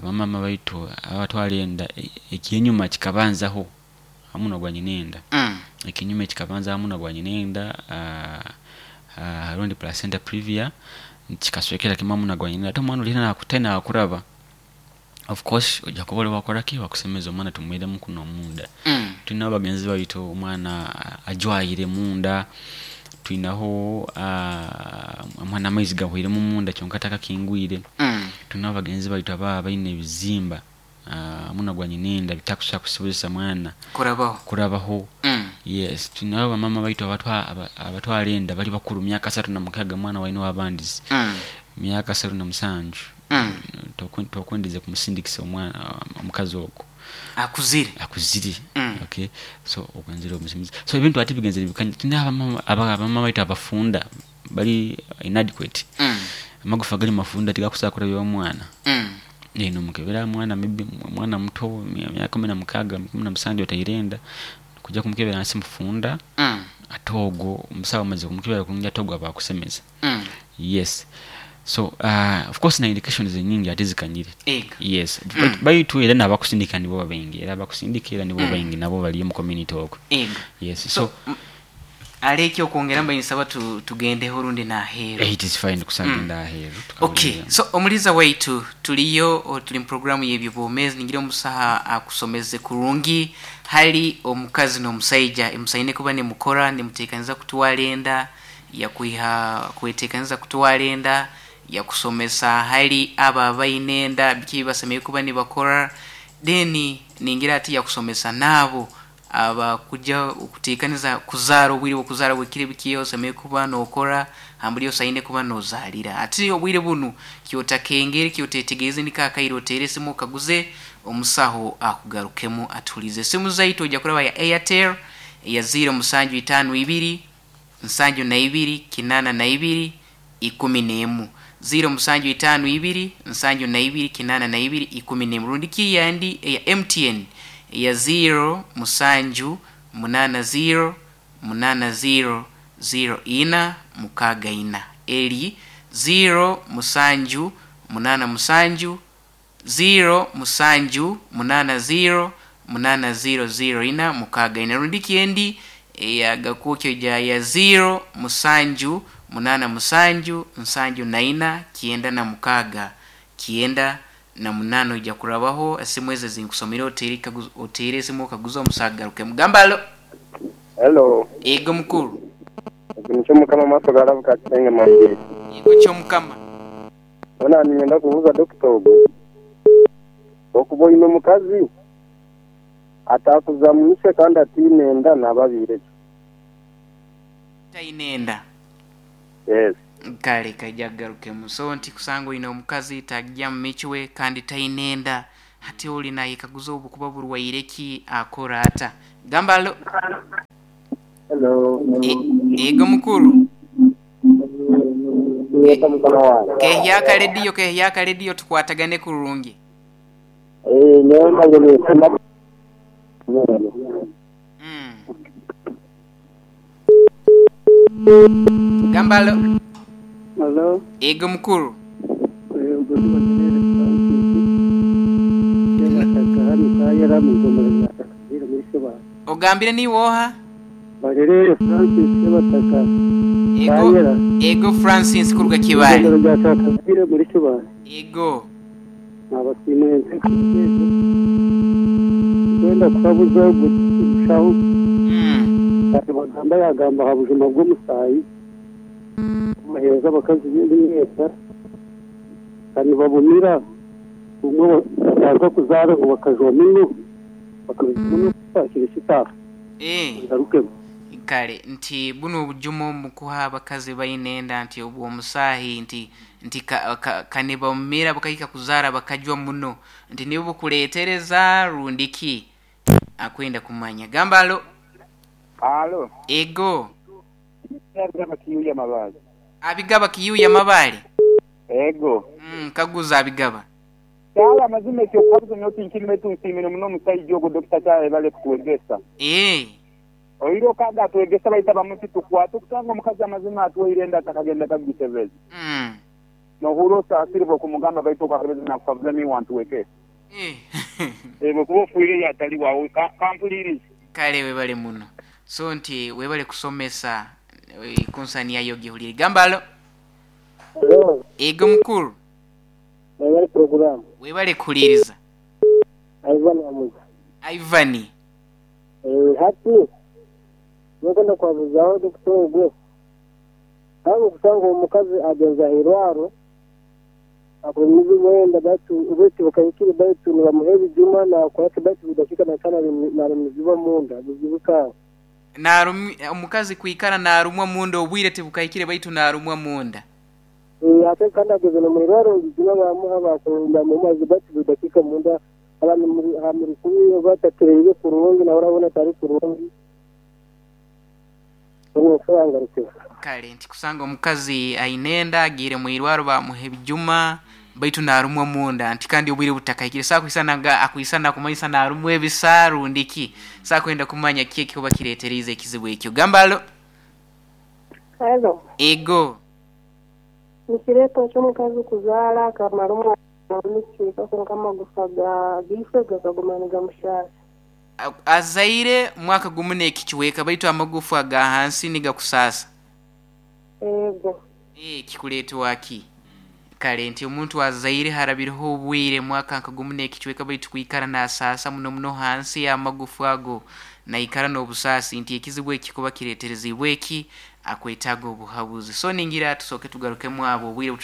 bamama baitu abatwala enda ekyenyuma kikabanzaho hamu nogwa nyina enda. Ekinyuma kikabanza hamu nogwa nyina enda, rundi placenta previa kikaswekera kimwe hamu nogwa nyina enda. Ate omwana oli nakutena akuraba. Of course ojja kuba oli wakora ki? Wakusemeza omwana tumwiremu kuno munda. Tulinaho bagenzi baitu omwana ajwayire munda. Tulinaho omwana amaizi gahwiremu munda kyonka takakingwire. Tulinaho bagenzi baitu ababa baine ebizimba muno gwa nyina enda bitakusobola kusobozesa mwana kurabaho. Kurabaho. Yes, tulinaho bamama baitu abatwala enda bali bakuru myaka 36 mwana waine w'abandizi. Myaka 37. Tokwendeze kumusindikisa omwana omukazi ogwo. Akuzire. Akuzire. Okay. So okwenzera omusimizi. So ebintu ati bigenzere bikanya. Tulina abamama baitu abafunda bali inadequate. Amagufa gali mafunda tigakusobola kurabya omwana. Nomukebera mwana maybe mwana muto myaka 16, 17 otairenda kujja kumukebera nsi mufunda. Ate ogwo omusawo amaze kumukebera kulungi ate ogwo aba akusemeza. Yes. So of course na indications nyingi ate zikanyire. Yes. Baitu era n'abakusindika nibo baingi. Era abakusindika era nibo baingi nabo bali mu community okwo. Yes. So, aleki okwongera mba nsaba tugendeho rundi n'aheeru. It is fine kusagenda aheeru. Okay. So omuliza waitu tuliyo tuli mu programu y'ebyobwomeezi ningira omusaha akusomeze kurungi hali omukazi n'omusaija emusaine kuba nimukora nimuteekaniza kutwara enda yakwiha kweteekaniza kutwara enda yakusomesa hali aba abaine enda biki basemeye kuba nibakora then ningira ati yakusomesa nabo aba kuja okuteekaniza kuzaara obwire bw'okuzaara bwekire bikiyo osemeye kuba nokora hamburi osaine kuba nozaalira ati obwire bunu kyotakengere kyotetegereze nikakaire otere esimu okaguze omusaho akugarukemu atulize esimu zaitu ojja kuraba ya Airtel ya ziro musanju itaano ibiri nsanju na ibiri kinana na ibiri ikumi n'emu ziro musanju itaano ibiri nsanju na ibiri kinana na ibiri ikumi n'emu rundi kiyandi eya MTN ya ziro musanju munana ziro munana ziro ziro ina mukaga ina eri ziro musanju munana musanju ziro musanju munana ziro munana ziro ziro ina mukaga ina rundi kiendi eya gakukyo ja ya ziro musanju munana musanju nsanju na ina kienda na mukaga kienda na munano ija kurabaho esimu ezo zinkusomera otere esimu okaguza omusagaruke mugamba alo. Hello. Ego mukuru. Nicho mukama maso garabuka kitenge mabiri. Ego kyo mukama. Ona ningenda kubuza doctor ogo. Okuba ino mukazi atakuza mwise kandi atine enda nababire. Taine enda. Yes. Kale kaija kugarukemu. So nti kusanga oine omukazi tagya mu micwe kandi taine enda, hati oli nayekaguza obu kuba burwaire ki, akora ata? Gamba alo. Hello. Ego mukuru. Yeta mukama wange. Kehyaka rediyo, kehyaka rediyo tukwatagane kurungi. Nyowe mbaire ninsoma. Gamba alo. Hello. Ego mukuru. Ogambire niiwe oha? Barerere Francis Sebataka. Ego, ego Francis kuruga Kibale. Igomero rya Kyakazire muri Kibale. Ego. Nabasiimire enteekateeka kwenda kuhabuza omushaho. Kati bagamba yagamba aha bujuma bw'omusaayi kubaheereza abakazi b'emyenda kandi babumira bumwe bataza kuzaara ngu bakajwa muno bakabijwa muno bakira ekitaaha. Ngarukemu. Kale nti bunu obujumo mukuha abakazi baine enda nti obw'omusaahi nti nti kane bamumira bakahika kuzaara bakajwa muno nti nibo bukuleetereza rundi ki akwenda kumanya. Gamba alo. Alo. Ego. Abigaba kiyuya mabale. Abigaba kiyuya mabale. Ego. Kaguza abigaba. Kyala mazima ekyo kabuzo nyoti nkirime tunsimire muno musajja ogwo Dr. Kyala bale kutuwegesa. Oiro kaga atuwegesa baita bamuti tukwata okusanga omukazi amazima atuwaire enda atakagenda kagitebeza. Nohura osaasiribwa okumugamba baitu okakebeza nakukabuza niwe wantuwekesa. Bwekuba ofuire yatali wawe kampulirize. Kale webale muno. So nti webale kusomesa konsani yayo gihulire. Gamba alo. Hello. Ego mukuru. Webale program. Webale kuliriza. Ivan Amuza. Ivani. Hati nkwenda kwabuzaho Dr. Ogwe. Aho kusanga omukazi agenza irwaro akomizi wenda batu ubeti bakayikire batu nibamuhe ebijuma na kwake batu bidakika na sana na miziba munda bizibuka. Narumi omukazi kuikara narumwa munda obwire tebukayikire baitu narumwa munda. Ate kandi ageze no mwirwaro bijuma bamuha bakonda mu mazi batu bidakika munda abantu muri kubi batatireye kurungi na urabona tari kurungi. Kale nti kusanga omukazi ainenda agire mwirwaro bamuhe ebijuma baitu narumwa munda nti kandi obwire butakayikire sakuisana akuisana kumanyisa narumwa ebisaru ndiki sakwenda kumanya ki ekikuba kireeterize ekizibu ekyo. Gamba alo. Hello. Ego. Nikireto ky'omukazi kuzaara akamara omwana omukiika konka amagufa ga gife gakaguma nigamushasha. Azaire mwaka gumu n'ekikiweka baitu amagufa ga hansi nigakusaasa. Ego. Kikuleetwa ki? Kale nti omuntu azaire harabireho obwire mwaka nka gumu n'ekikiweka baitu kwikara nasaasa muno muno hansi y'amagufa ago naikara n'obusaasi nti ekizibu ekikuba kireeterezibwe eki akwetaaga obuhabuzi. So ningira tusooke tugarukemu abo obwire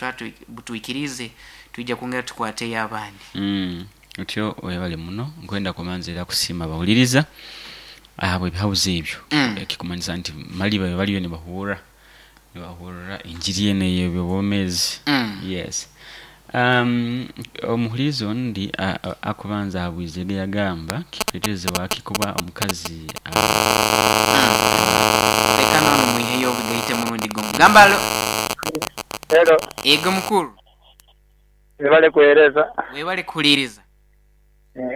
butwikirize twija kwongera tukwateyo abandi. Otyo webale muno nkwenda kumanza era kusiima abawuliriza ahabwe ebihabuzo ebyo. Ekikumanyisa nti mali babe baliyo nibahurra enjiri eno ey'ebyobwomeezi. Yes. Omuhurizi ondi akubanza ahabwizege yagamba kikuleetereze waki kuba omukazi leka nono mwiheyo obigaite murundi gumu. Gamba alo. Hello. Ego mukuru. Webale kuhereza. Webale kuhuliriza.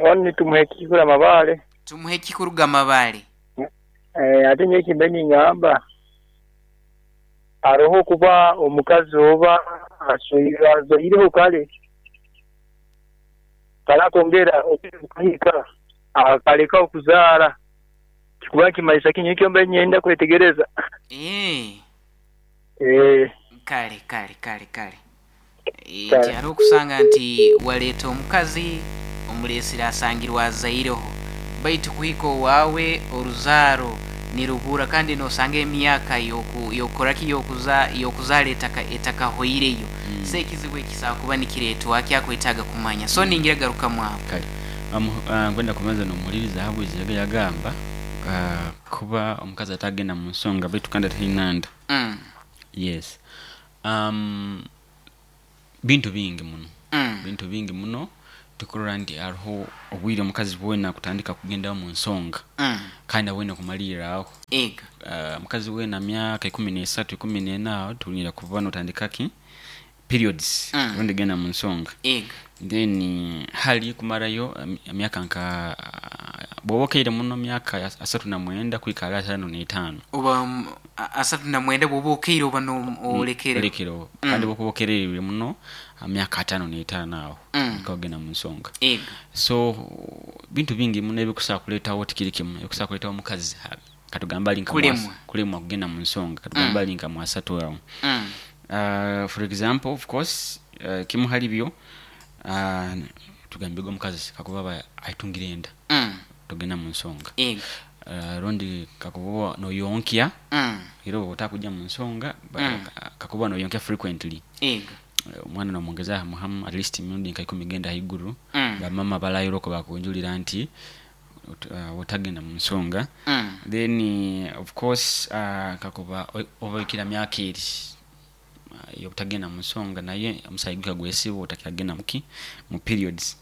Oni tumuhe kikura mabale. Tumuhe kikuruga mabale. Ate nye kimbeni ngamba aroho kuba omukazi oba azoireho kale karakongera okukahika akaleka okuzaara kikuba kimaisa kinye ekyo mbe nyenda kwetegereza. Kale kale kale kale. Nti okusanga nti waleeta omukazi omuleesire asangirwa azaireho baitu kuhika owaawe oruzaaro nirubura kandi nosanga emyaka yokoraki yokuzaara etakahoireyo. So ekizibu ekisobola kuba nikireetwa kyakwetaaga kumanya. So ningira garukamu aho. Kale nkwenda kubanza n'omuhuliriza ahabwizege yagamba Kuba omukazi atagenda mu nsonga baitu kandi ataina nda. Yes, bintu bingi muno. Bintu bingi muno. Tukurora nti hariho obwire omukazi bwena kutandika kugenda mu nsonga kandi abwine kumalirra aho. Ego. Omukazi wena myaka 13, 14 aho tuliira kuba notandika ki periods, rundi genda mu nsonga. Ego. Then hali kumarayo emyaka nka bwoba okaire muno myaka 39 kuhika hali 55. Oba 39 bwoba okaire oba olekere. Olekereho. Kandi bwokuba okerererwe muno myaka 55 aho nikogenda mu nsonga. Ego. So bintu bingi muno ebikusobola kuleetawo, tikiri kimu ebikusobola kuleetawo omukazi katugamba ali nka Kulemwa. Kulemwa kugenda mu nsonga, katugamba ali nka mwasatu aho. For example, of course, kimu hali byo, tugambege omukazi kakuba aba aitungire enda, tugenda mu nsonga. Ego. Rundi kakuba noyonkya, era oba otakujja mu nsonga, kakuba noyonkya frequently. Ego. Omwana nomwongeza hamu at least emirundi nka 10 genda haiguru. Bamama balayiroko bakunjulira nti otagenda mu nsonga. Then of course, kakuba obaikira myaka eri yobutagenda mu nsonga, naye omusaayi guka gwesiba otakagenda muki mu periods.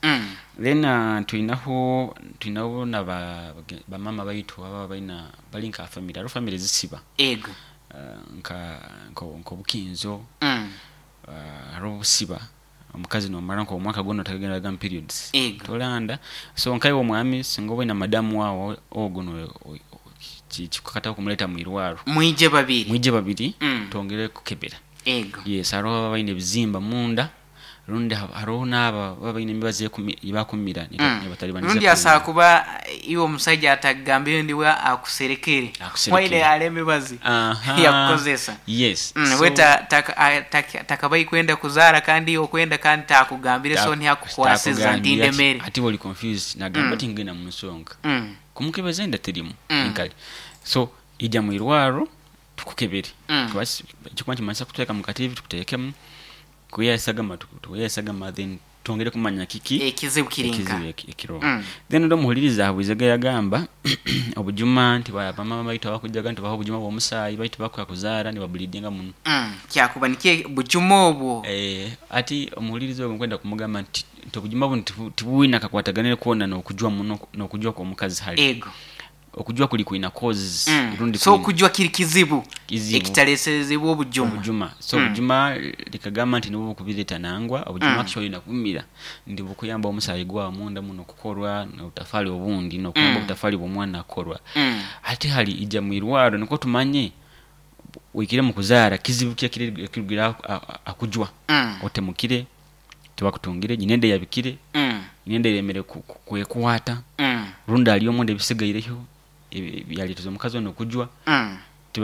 Then tulinaho na bamama baitu aba balina bali nka family, hariho family zisiba. Ego. Nka nkobukinzo. Hariho obusiba omukazi nomara nko omwaka gwona otagenda mu periods. Ego. Tolanda. So nkaiwe omwami singa oba oyina madamu wawe ogwo kikukataho kumuleta mu irwaro. Mwije babiri. Mwije babiri, twongere kukebera. Ego. Yes, hariho ababa balina ebizimba munda, rundi hariho n'aba baba balina emibazi ebakumira nibatalibaniza. Rundi asobola kuba iwe omusajja atagambire ndiwe akuserekere. Akuserekere. Waine hali emibazi yakukozesa. Yes. We So takabai kwenda kuzaara kandi okwenda kandi takugambire, so ntihakukwasiza takugambire nti ndemere. Ati oli confused, nagamba ati ngenda mu nsonga. Kumukebeza enda terimu enkali. So ijja mu irwaro tukukebere. Kuba kikuba kimanyisa kuteeka mu kativi tukuteekemu, kuyesagama tuyesagama, then twongere kumanya kiki ekizibu kirinka. Ekizibu ekiro. Then ndo muhuliriza abwizega yagamba obujuma nti bamama baitu abakujaga nti baho obujuma bw'omusaayi baitu bakuka kuzaara ni babulidinga muno. Kyakuba nikye bujuma obwo. Ati omuhuliriza ogwo nkwenda kumugamba nti obujuma buno tibuwina kakwataganire kwona n'okujwa muno, n'okujwa kw'omukazi hali. Ego. Okujwa kuli kulina causes. Rundi So kulina okujwa kiri kizibu. Kizibu. Ekitaleserezebwa obujuma. Obujuma. So obujuma likagamba nti nibwo bukubireta nangwa, obujuma actually nakumira ndi bukuyamba omusaayi gwa munda muno kukorwa n'obutafali obundi n'okuyamba obutafali bw'omwana kukorwa. Ate hali ijja mu irwaro niko tumanye wikire mu kuzaara kizibu kye kiri kirugira akujwa. Otemukire tibakutungire nyinende yabikire. Nyinende yemere kwekwata. Rundi ali omunde bisigaireyo byalituza omukazi ono okujwa.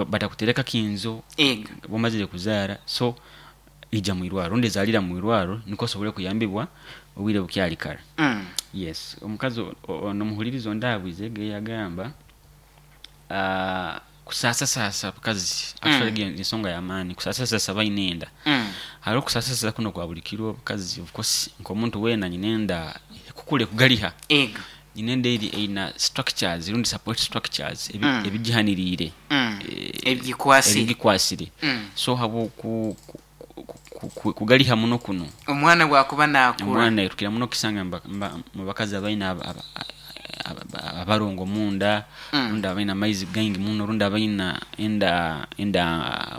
Batakutereka kinzo. Ego. Bwomazire kuzaara, so ija mu irwaro rundi zalira mu irwaro niko osobole kuyambibwa obwire bukyali kare. Yes, omukazi ono muhulirizo ndabwizege yagamba, kusasa sasa bakazi, actually ensonga ya maani kusasa sasa bayinenda. Hariho kusasa sasa kuno kwa buli kiro bakazi, of course nk'omuntu weena nyinenda kukule kugaliha. Ego. Nyinenda eri eina structures rundi support structures ebigihaniriire. Ebigikwasire. Ebigikwasire. So habo kugaliha muno kuno. Omwana bwakuba nakura. Omwana tukira muno kisanga mu bakazi abalina abarongo munda, rundi abalina amaizi gaingi muno, rundi abalina enda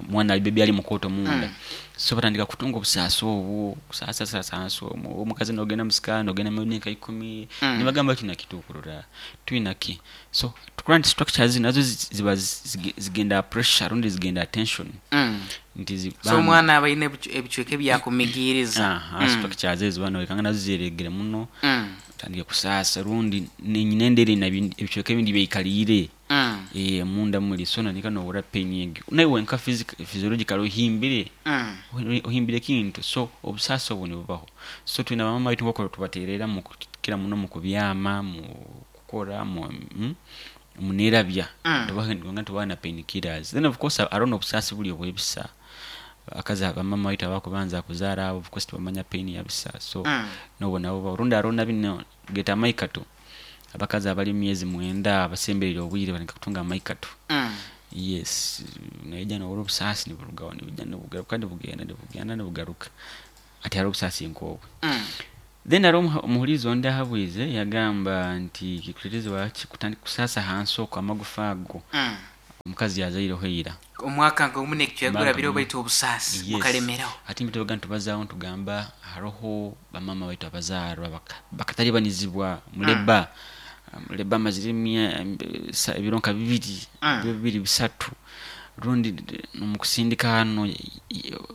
mwana ali bebi ali mukoto munda. So batandika kutunga obusaasi obwo, kusaasa saasa omwo. Omukazi n'ogenda mu sikaani, n'ogenda mu myaka 10, nibagamba tulina kituukurura, tulina ki. So current structures nazo ziba zigenda pressure rundi zigenda tension. Nti So omwana aba ayina ebicweka ebyakumigiriza. Structures ezo bano wekanga nazo ziregere muno. Tandika kusaasa rundi nyina endere na ebicweka ebindi byeikaliire. Munda muli so nanika nowura pain yegi. Naye wenka physiological ohimbire. Ohimbire kintu. So obusaasi obwo nibubaho. So tulina bamama baitu nk'oku tubateerera mu kukira muno mu kubyama, mu kukora, mu nerabya. Tubaha nga tubaha na pain killers. Then of course hariho n'obusaasi buli obw'ebisa. Akazi abamama baitu abakubanza kuzaara abo, of course tibamanya pain ya bisa. So nobwo nabo rundi hariho na bino geta maikato. Abakazi abali mu myezi 9 abasemberere obwire bali kutunga amaikato. Yes, naija nohurra obusaasi niburugaho, nibwija nibugaruka, nibugenda nibugenda nibugaruka, ati hariho obusaasi nk'obwo. Then hariho omuhurizi ondi ahabwize yagamba nti kikuteerezebwa ki kutandika kusaasa hansi okwo amagufa ago omukazi yazaireho ira. Omwaka nk'ogumu n'ekicweka gurabireho, baitu obusaasi bukalemeraho. Ati nitubaga nitubazaaho nitugamba hariho bamaama baitu abazaarwa bakatalibanizibwa muleba, muleba amazire ebiro nka 2, ebiro 2 3, rundi omukusindika hanu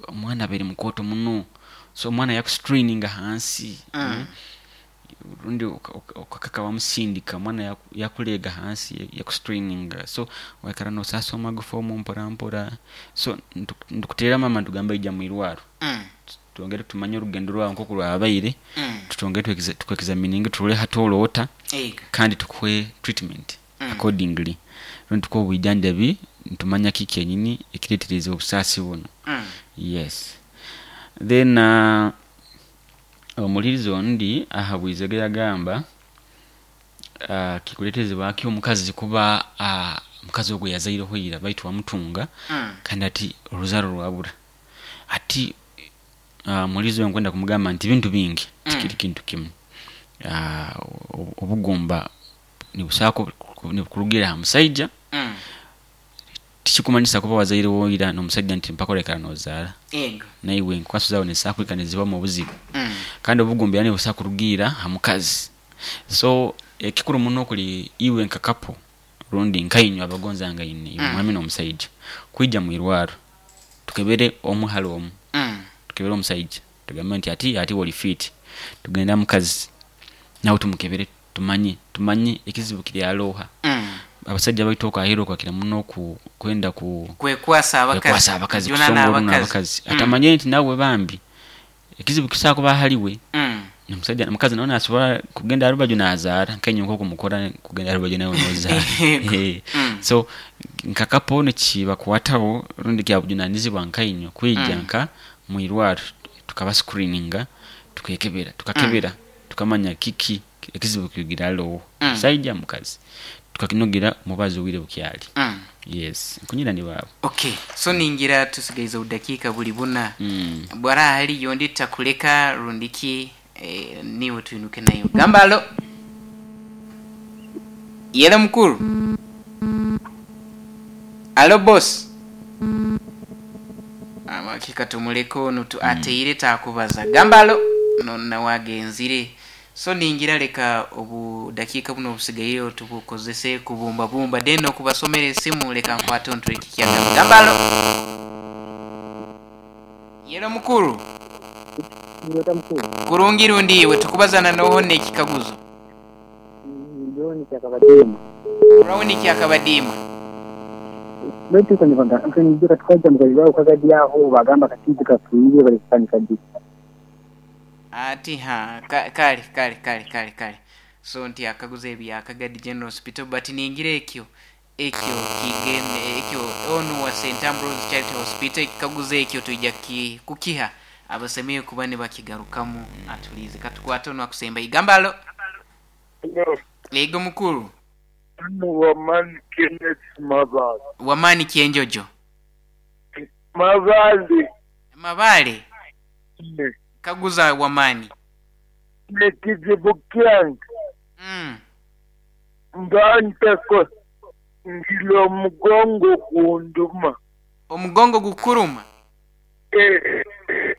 omwana abaire mukooto muno, so omwana yakustraininga hansi, rundi okakaka wamusindika omwana yakuleega hansi, yakustraininga, so waikara nosaasa omu magufa omu mpora mpora. So nitukuteera maama nitugamba ija mwirwaro, twongere tumanye orugendo rwawe nkoku rwabaire, tutwongere tuku-examininge turole hati oroota, kandi tukuhe treatment accordingly, rundi tukuhe obwijanjabi nitumanya kiki kyenyini ekireeterize obusaasi bunu. Yes. Then omuhurizi ondi ahabwize yagamba kikuleeterezebwa ki omukazi kuba omukazi ogwo yazaireho ira baitu wamutunga kandi ati oruzaaro rwabura. Ati omuhurizi ogu nkwenda kumugamba nti bintu bingi, tikiri kintu kimu. Obugumba nibusobola nibukurugiira ha musaija, tikikumanyisa kuba wazaireho ira n'omusaija nti mpaka oraikara nozaara. Naiwe enkwaso zaawe nizisobola kwikara nizibamu obuzibu. Kandi obugumba era nibusobola kurugiira ha mukazi. So ekikuru muno kuli iwe nka couple rundi nkainywe abagonzangaine, iwe omwami n'omusaija, kwija mwirwaro tukebere omu hali omu. Tukebere omusaija tugambe nti hati iwe oli fit, tugende ha mukazi nawe tumukebere tumanye ekizibu kiri hali oha. Abasaija baitu okwo aheeru bakira muno kwenda kwekwasa abakazi, kusonga oruno abakazi, atamanyire nti nawe bambi ekizibu kisobola kuba hali we. Omusaija omukazi nawe nasobola kugenda ha rubaju nazaara nkainywe nkoku mukora kugenda ha rubaju nawe nozaara. So nka couple nikibakwataho rundi kyabujunanizibwa nkainywe kwija nka mwirwaro tukaba screeninga, tukekebera, tukakebera tukamanya kiki ekizibu kirugire hali oha, musaija mukazi, tukakinogira omubazi obwire bukyali. Yes, nkunyira ni baaba. Okay, so ningira tusigaize obudakiika buli buna. Bwaraaba haliyo ondi tutakuleka rundi ki, niiwe twinuke naiwe. Gamba alo. Yele mukuru. Alo boss. Hakika tumuleke onu ateire takubaza. Gamba alo. No nawe agenzire. So ningira leka obudakiika buno obusigaireho tubukozese kubumbabumba, then okubasomera esimu leka nkwate onu tureke kyagamba. Gamba alo. Yele mukuru. Kurungi rundi iwe tukubazana noho n'ekikaguzo. John Kyakabadiima. Brown Kyakabadiima. Baitu tukaija mukazi kagadi aho bagamba katizi kafiire bali kutandika di. Ati ha kale kale kale kale kale. So nti akaguza ebya Kagadi General Hospital, but ningira ekyo kigende ekyo onu wa St Ambrose Charity Hospital, ekikaguzo ekyo twija kukiha abasemeye kuba nibakigarukamu atulize. Katukwate onu akusemba igamba alo. Ego mukuru. Wamani Kenneth Mabale. Wamani Kyenjojo. Mabale. Mabale. Kaguza Wamani. Nekizibu kyange. Nganteko ngilo omugongo gunduma. Omugongo gukuruma?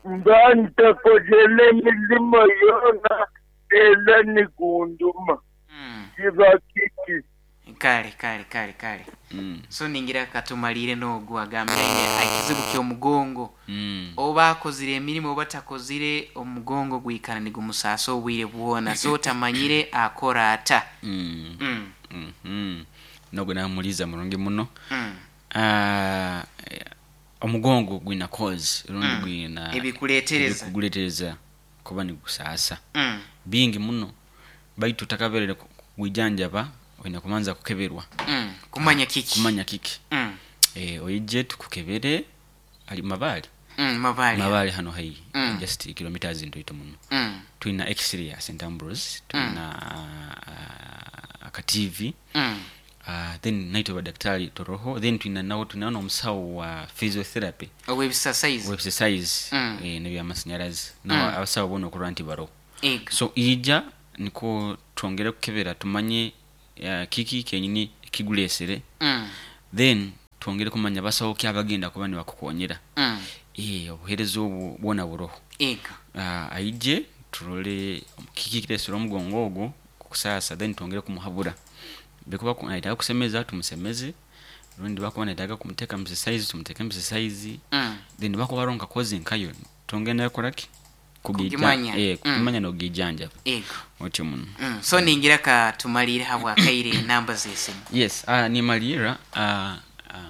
Ngantakozele emilimo yona era nigunduma. Kiba kiki? Kale kale kale kale. So ningira katumalire n'ogu agambire ekizibu ky'omugongo. Oba akozire emirimu oba takozire, omugongo gwikara nigumusaasa obwire bwona, so tamanyire akora ata. Nogwo namuliza murungi muno. Omugongo gwina cause rundi gwina ebikuleetereza, ebikuguleetereza kuba nigusaasa. Bingi muno, baitu otakaberere kugwijanjaba oine kubanza kukeberwa. Kumanya kiki? Kumanya kiki. Oije tukukebere ali Mabale. Mabale. Mabale hano haihi. Just kilometers ntoito muno. Twina x-ray ya St Ambrose, twina aka TV. Then naitwe badakitaali turoho, then twina nawe twinaho n'omusawo wa physiotherapy. Ow'ebisasaizi. Ow'ebisasaizi n'ebyamasinyarazi. Nawe abasawo boona okurora nti baroho. So ija nikwo twongere kukebera tumanye kiki kenyini ekiguleesere. Then twongere kumanya basawo ki abagenda kuba nibakukonyera. Obuheereza obwo bwona buroho. Aije turole kiki ekireesere omugongo ogwo kukusaasa, then twongere kumuhabura. Bikuba nayetaaga kusemeza tumusemeze, rundi bakuba nayetaaga kumuteeka mu exercise tumuteeke mu exercise. Then bakuba haroho nka cause nkayo twongere nayo kukoraki? Kugimanya. Kugimanya n'okugijanjaba. Otyo muno. So ningira ka tumaliire habwakaire enamba z'esimu. Yes, nimalirra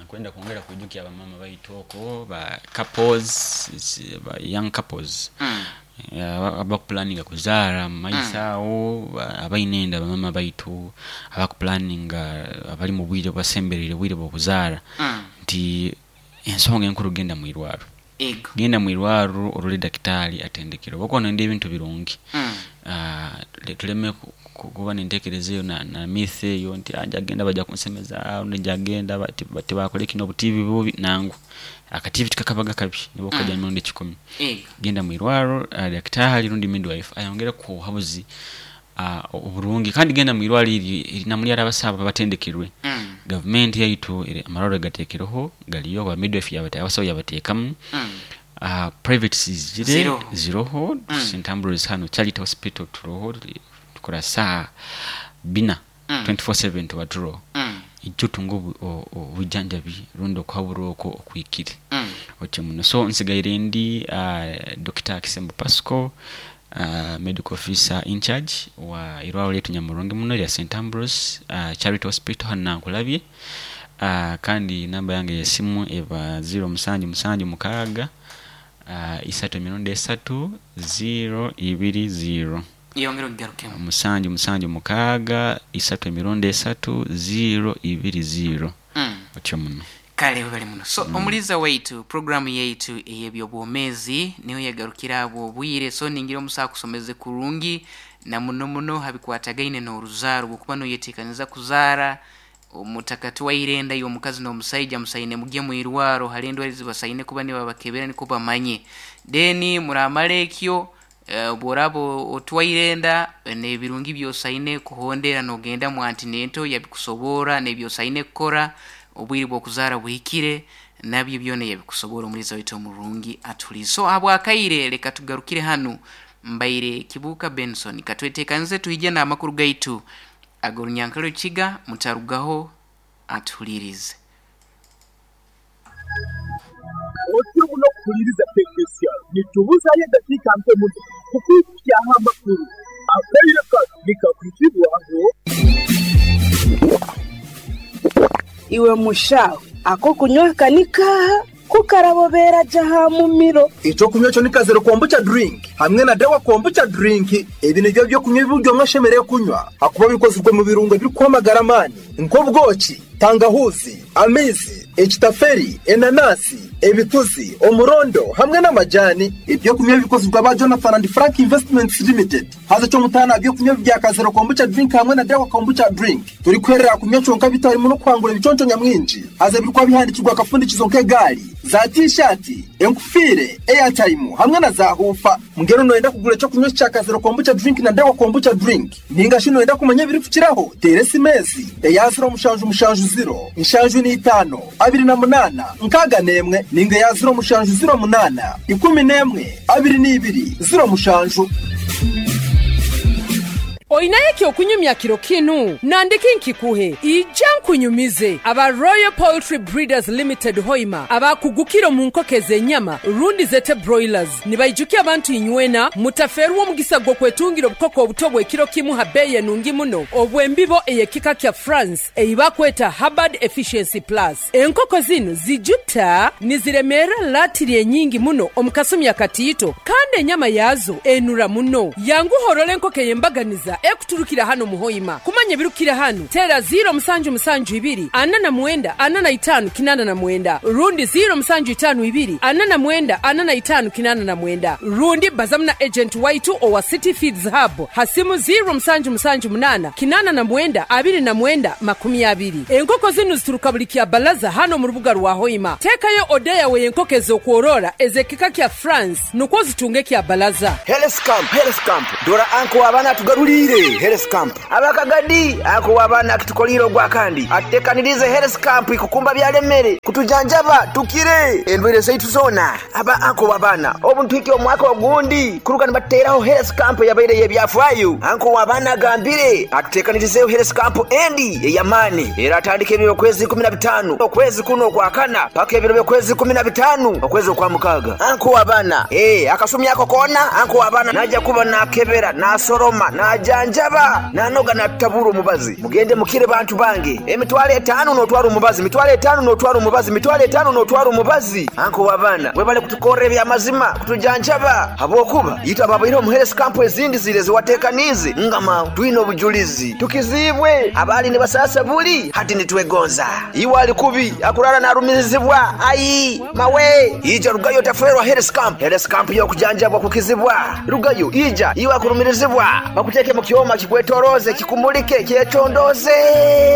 nkwenda kwongera kwijukya abamama baitu okwo ba couples, ba young couples abakupulaninga kuzaara mu maiso aho, abaine enda bamama baitu abakupulaninga abali mu bwire obubasembereire obwire bw'okuzaara nti ensonga enkuru genda mwirwarro. Genda mwirwarro orole dakitaali atendekere obu okuba noyenda ebintu birungi. Tuleme kuba n'entekereza eyo na myth eyo nti njagenda baija kunsemeza, rundi njagenda tibakole kinu obutiivi bubi, nangwa. Akatiivi tikakabaga kabi nobu okukajyamu emirundi kikumi. Genda mwirwarro dakitaali rundi midwife ayongere kukuha obuhabuzi oburungi, kandi genda mwirwarro eryo namuli hariho abasawo abatendekerwe. Gavumenti yaitu amarwarro egateekereho gariyo, ba midwife abasawo yabateekamu. Private zizire ziroho, St Ambrose hanu Charity Hospital turoho, tukora saaha bina 24/7 tuba turoho. Ija otunge obujanjabi rundi okuhaburwa okwo okuhikire. Otyo muno. So nsigaire ndi Dokita Kisembo Pascal, medical officer in charge wa irwarro lyaitu nyamurungi muno erya St Ambrose Charity Hospital hanu Nankulabye. Kandi namba yange ey'esimu eba 0 musanju musanju mukaaga isatu emirundi esatu 0 ibiri 0. Yongera ogigarukemu. Musanju musanju mukaaga isatu emirundi esatu 0 ibiri 0. Otyo muno. Kale webale muno. So omuliza waitu, programu yaitu ey'ebyobwomeezi niho yagarukira habw'obwire, so ningira omusawo akusomeze kurungi na muno muno ha bikwatagaine n'oruzaaro. Obwokuba noyeteekaniza kuzaara, omutakatwaire enda y'omukazi n'omusaija musaine mugye mwirwaro, hariho endwaire ezibasaine kuba nibabakebera nikwo bamanye. Then muramara ekyo, obworaaba otwaire enda, n'ebirungi by'osaine kuhondera nogenda mu antenatal yabikusoborra, n'ebyosaine kukora obwire bw'okuzaara buhikire, nabyo byona yabikusoborra omuliiza waitu omurungi atuhuliize. So habw'akaire leka tugarukire hanu, mbaire Kibuuka Benson, katweteekanize twije n'amakuru gaitu ag'orunyankole Rukiga, mutarugaho atuhuliirize. Otyo muno kuhuliiriza KSR. Nitubuzayo edakiika nke muno kukwikukyaho amakuru. Akaire kanu nikakwizibwaho. Iwe mushaho, ak'okunywa aka ni kaaha? Ku karabobeera gye aha mumiro. Eky'okunywa ekyo ni Kazero Kombucha Drink hamwe na Dawa Kombucha Drink. Ebi nibyo by'okunywa ebi buri omwe ashemereire kunywa ahakuba bikozirwe mu birungo ebirikuha amagara amaani nk'obwoki, tangahuuzi, amaizi, ekitaferi, enanasi, ebituzi, omurondo hamwe n'amajani. Eby'okunywa ebi bikozirwe aba Jonathan and Frank Investments Limited. Haza eky'omutaano aha by'okunywa ebi bya Kazero Kombucha Drink hamwe na Dawa Kombucha Drink, torikuherera aha kunywa kyonka beitu harimu n'okuhangura ebiconco nyamwingi. Haza ebirikuba bihandiikirwe aha kafundikizo nk'egaari, za tiishaati, enkufiire, eyataimu hamwe na zaahuufa. Mbwenu nooyenda kugura eky'okunywa eki kya Kazero Kombucha Drink na Dawa Kombucha Drink? Nainga shi nooyenda kumanya ebirikukiraho? Teera esimu ezi, eya ziro mushanju mushanju ziro, nshanju n'eitaano, abiri na munaana, nkaaga n'emwe, nainga eya ziro mushanju ziro munaana, ikumi n'emwe, abiri n'ibiri, ziro mushanju. Oinayo eky'okunyumya kiro kinu? Nandiki nkikuhe? Ija nkunyumize. Aba Royal Poultry Breeders Limited Hoima abakugukire omu nkoko ez'enyama rundi zete broilers nibaijukya abantu inywena mutafeerwa omugisa gw'okwetungira obukoko obuto obw'ekiro kimu ha bbeeyi enungi muno obw'embibo ey'ekika kya France ei bakweta Hubbard Efficiency Plus. Enkoko zinu zijuta niziremeera latiri enyingi muno omu kasumi akatiito kandi enyama yaazo enura muno. Yanguha orole enkoko ey'embaganiza. ekuturukira hanu mu Hoima. Kumanya ebirukukira hanu, teera ziiro musanju musanju ibiri, ana na mwenda, ana na itaanu, kinaana na mwenda, rundi ziiro musanju itaanu ibiri, ana na mwenda, ana na itaanu, kinaana na mwenda. Rundi bazamu na agenti waitu owa City Feeds Hub ha simu ziiro musanju musanju munaana, kinaana na mwenda, abiri na mwenda, makumi abiri. Enkoko zinu zituruka buli Kyabalaza hanu omu rubuga rwa Hoima. Teekayo oda yawe y'enkoko ez'okworora ez'ekika kya France nukwo ozitunge Kyabalaza. Health Camp, Health Camp, dora anko w'abaana atugaruliire Health Camp. Abakagadi anko w'abaana akitukoliire ogwakandi atutekanirize Health Camp ikukumba byalemere kutujanjaba tukire endwire zaitu zoona. Aba anko w'abaana obu ntwike omwaka ogundi kuruga nibatuteraho Health Camp yabaire y'ebyafaayo. Anko w'abaana agambire atutekanirizeho Health Camp endi ey'amaani era atandika ebiro okwezi 15 okwezi kuno okwakana paka ebiro by'okwezi 15 okwezi okwa mukaaga. Anko w'abaana akasumi ako koona anko w'abaana najja kuba nakebera nasoroma najanjaba nanoga natutabura omubazi. Mugende mukire bantu bange emitwalo 5 n'otwara omubazi, mitwalo 5 n'otwara omubazi, mitwalo 5 n'otwara omubazi. Anko w'abaana webale kutukorra ebyamazima kutujanjaba habwokuba yitwa ababaire omu Health Camp ezindi zire ziwatekanize ngama twine obujulizi tukizibwe abali nibasasa buli hati nitwegonza. Iwe ali kubi akurara narumirizibwa ai mawe ija rugayo taferwa Health Camp. Health Camp yokujanjabwa kukizibwa rugayo ija iwe akurumirizibwa bakuteke mu kyoma kikwetoroze kikumulike kyecondoze.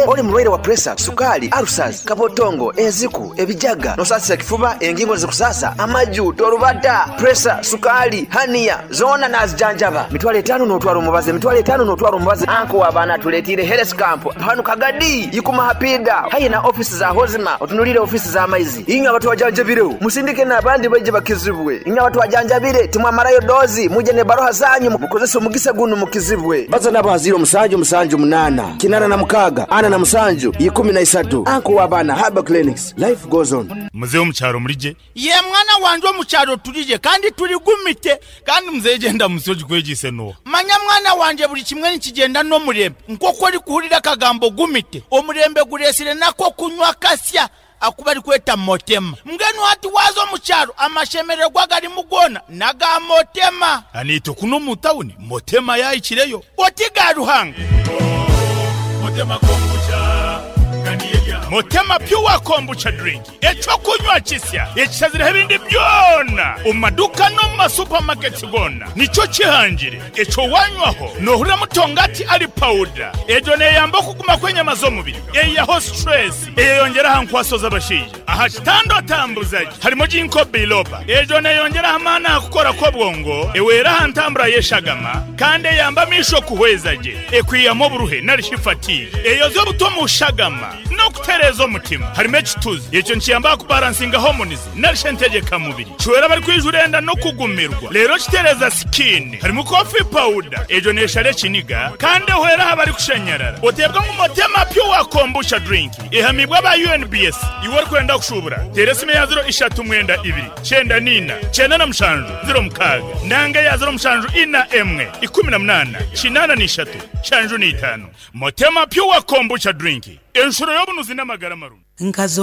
Oli mulwaire wa pressure, sukali, ulcers, kabotongo, eziku, ebijaga, nosasira kifuba, engingo zikusasa, amaju, torubata, pressure, sukali, hania zona nazijanjaba. Mitwalo 5 n'otwara omubazi, mitwalo 5 n'otwara omubazi. Anko w'abaana tuletire Health Camp hanu Kagadi ikuma hapida hayi na ofisi za Hozima otunulire ofisi za maizi. Inywe abantu bajanjabireho musindike n'abandi baije bakizibwe. Inywe abantu bajanjabire timwamarayo dozi muje ne baroha zanyu mukozese omugisa guno mukizibwe. Baza nabo 0 7 7 8 86 47 13. Anko w'abaana Herbal Clinics, life goes on. Muzehe omukyaro murije ye mwana wanje omukyaro turije kandi turigumite kandi muzehe genda musoji kwegise no manya mwana wanje buli kimwe nikigenda n'omurembe nk'oku ori kuhurira akagambo gumite omurembe guresire nako kunywa kasya akuba ari kweta motema mbwenu hati waza omukyaro amashemererwa garimu gona naga motema anito kuno mu tawuni motema yayikireyo oti ga Ruhanga motema kombucha Motema Pure Kombucha Drink ekyokunywa kisya ekisazire ebindi byona omu maduka no mu masupamaketi gona nikyo kihangire ekyo wanywaho nohurira mutongati ali powder ejo neyamba okuguma kw'enyama z'omubiri eyaho stress eyeyongera aha nkwaso z'abashaija aha kitando atambuzaje harimo ginkgo biloba ejo neyongera aha maani aha kukora kw'obwongo ewera aha ntambura y'eshagama kandi eyamba amisho kuhweza gye ekwiyamu oburuhe narishi fatigue eyoza obuto mu shagama n'okutereeza omutima harimo ekituzi ekyo nikiyamba kubalansinga hormones narishe ntegeka mubiri kiwera bari kwijura enda n'okugumirwa rero kitereza skin harimo coffee powder ejo neshara ekiniga kandi ehwera aha bari kushanyarara oteebwa ngu Motema Pure Kombucha Drink ehamibwa aba UNBS iwe orikwenda kushubura teera esimu ya 0 3 92 94 97 06 nanga ya 0 7 4 1 18 83 75 Motema Pure Kombucha Drink enshuro y'obunuzi n'amagara marungi. Nkazo.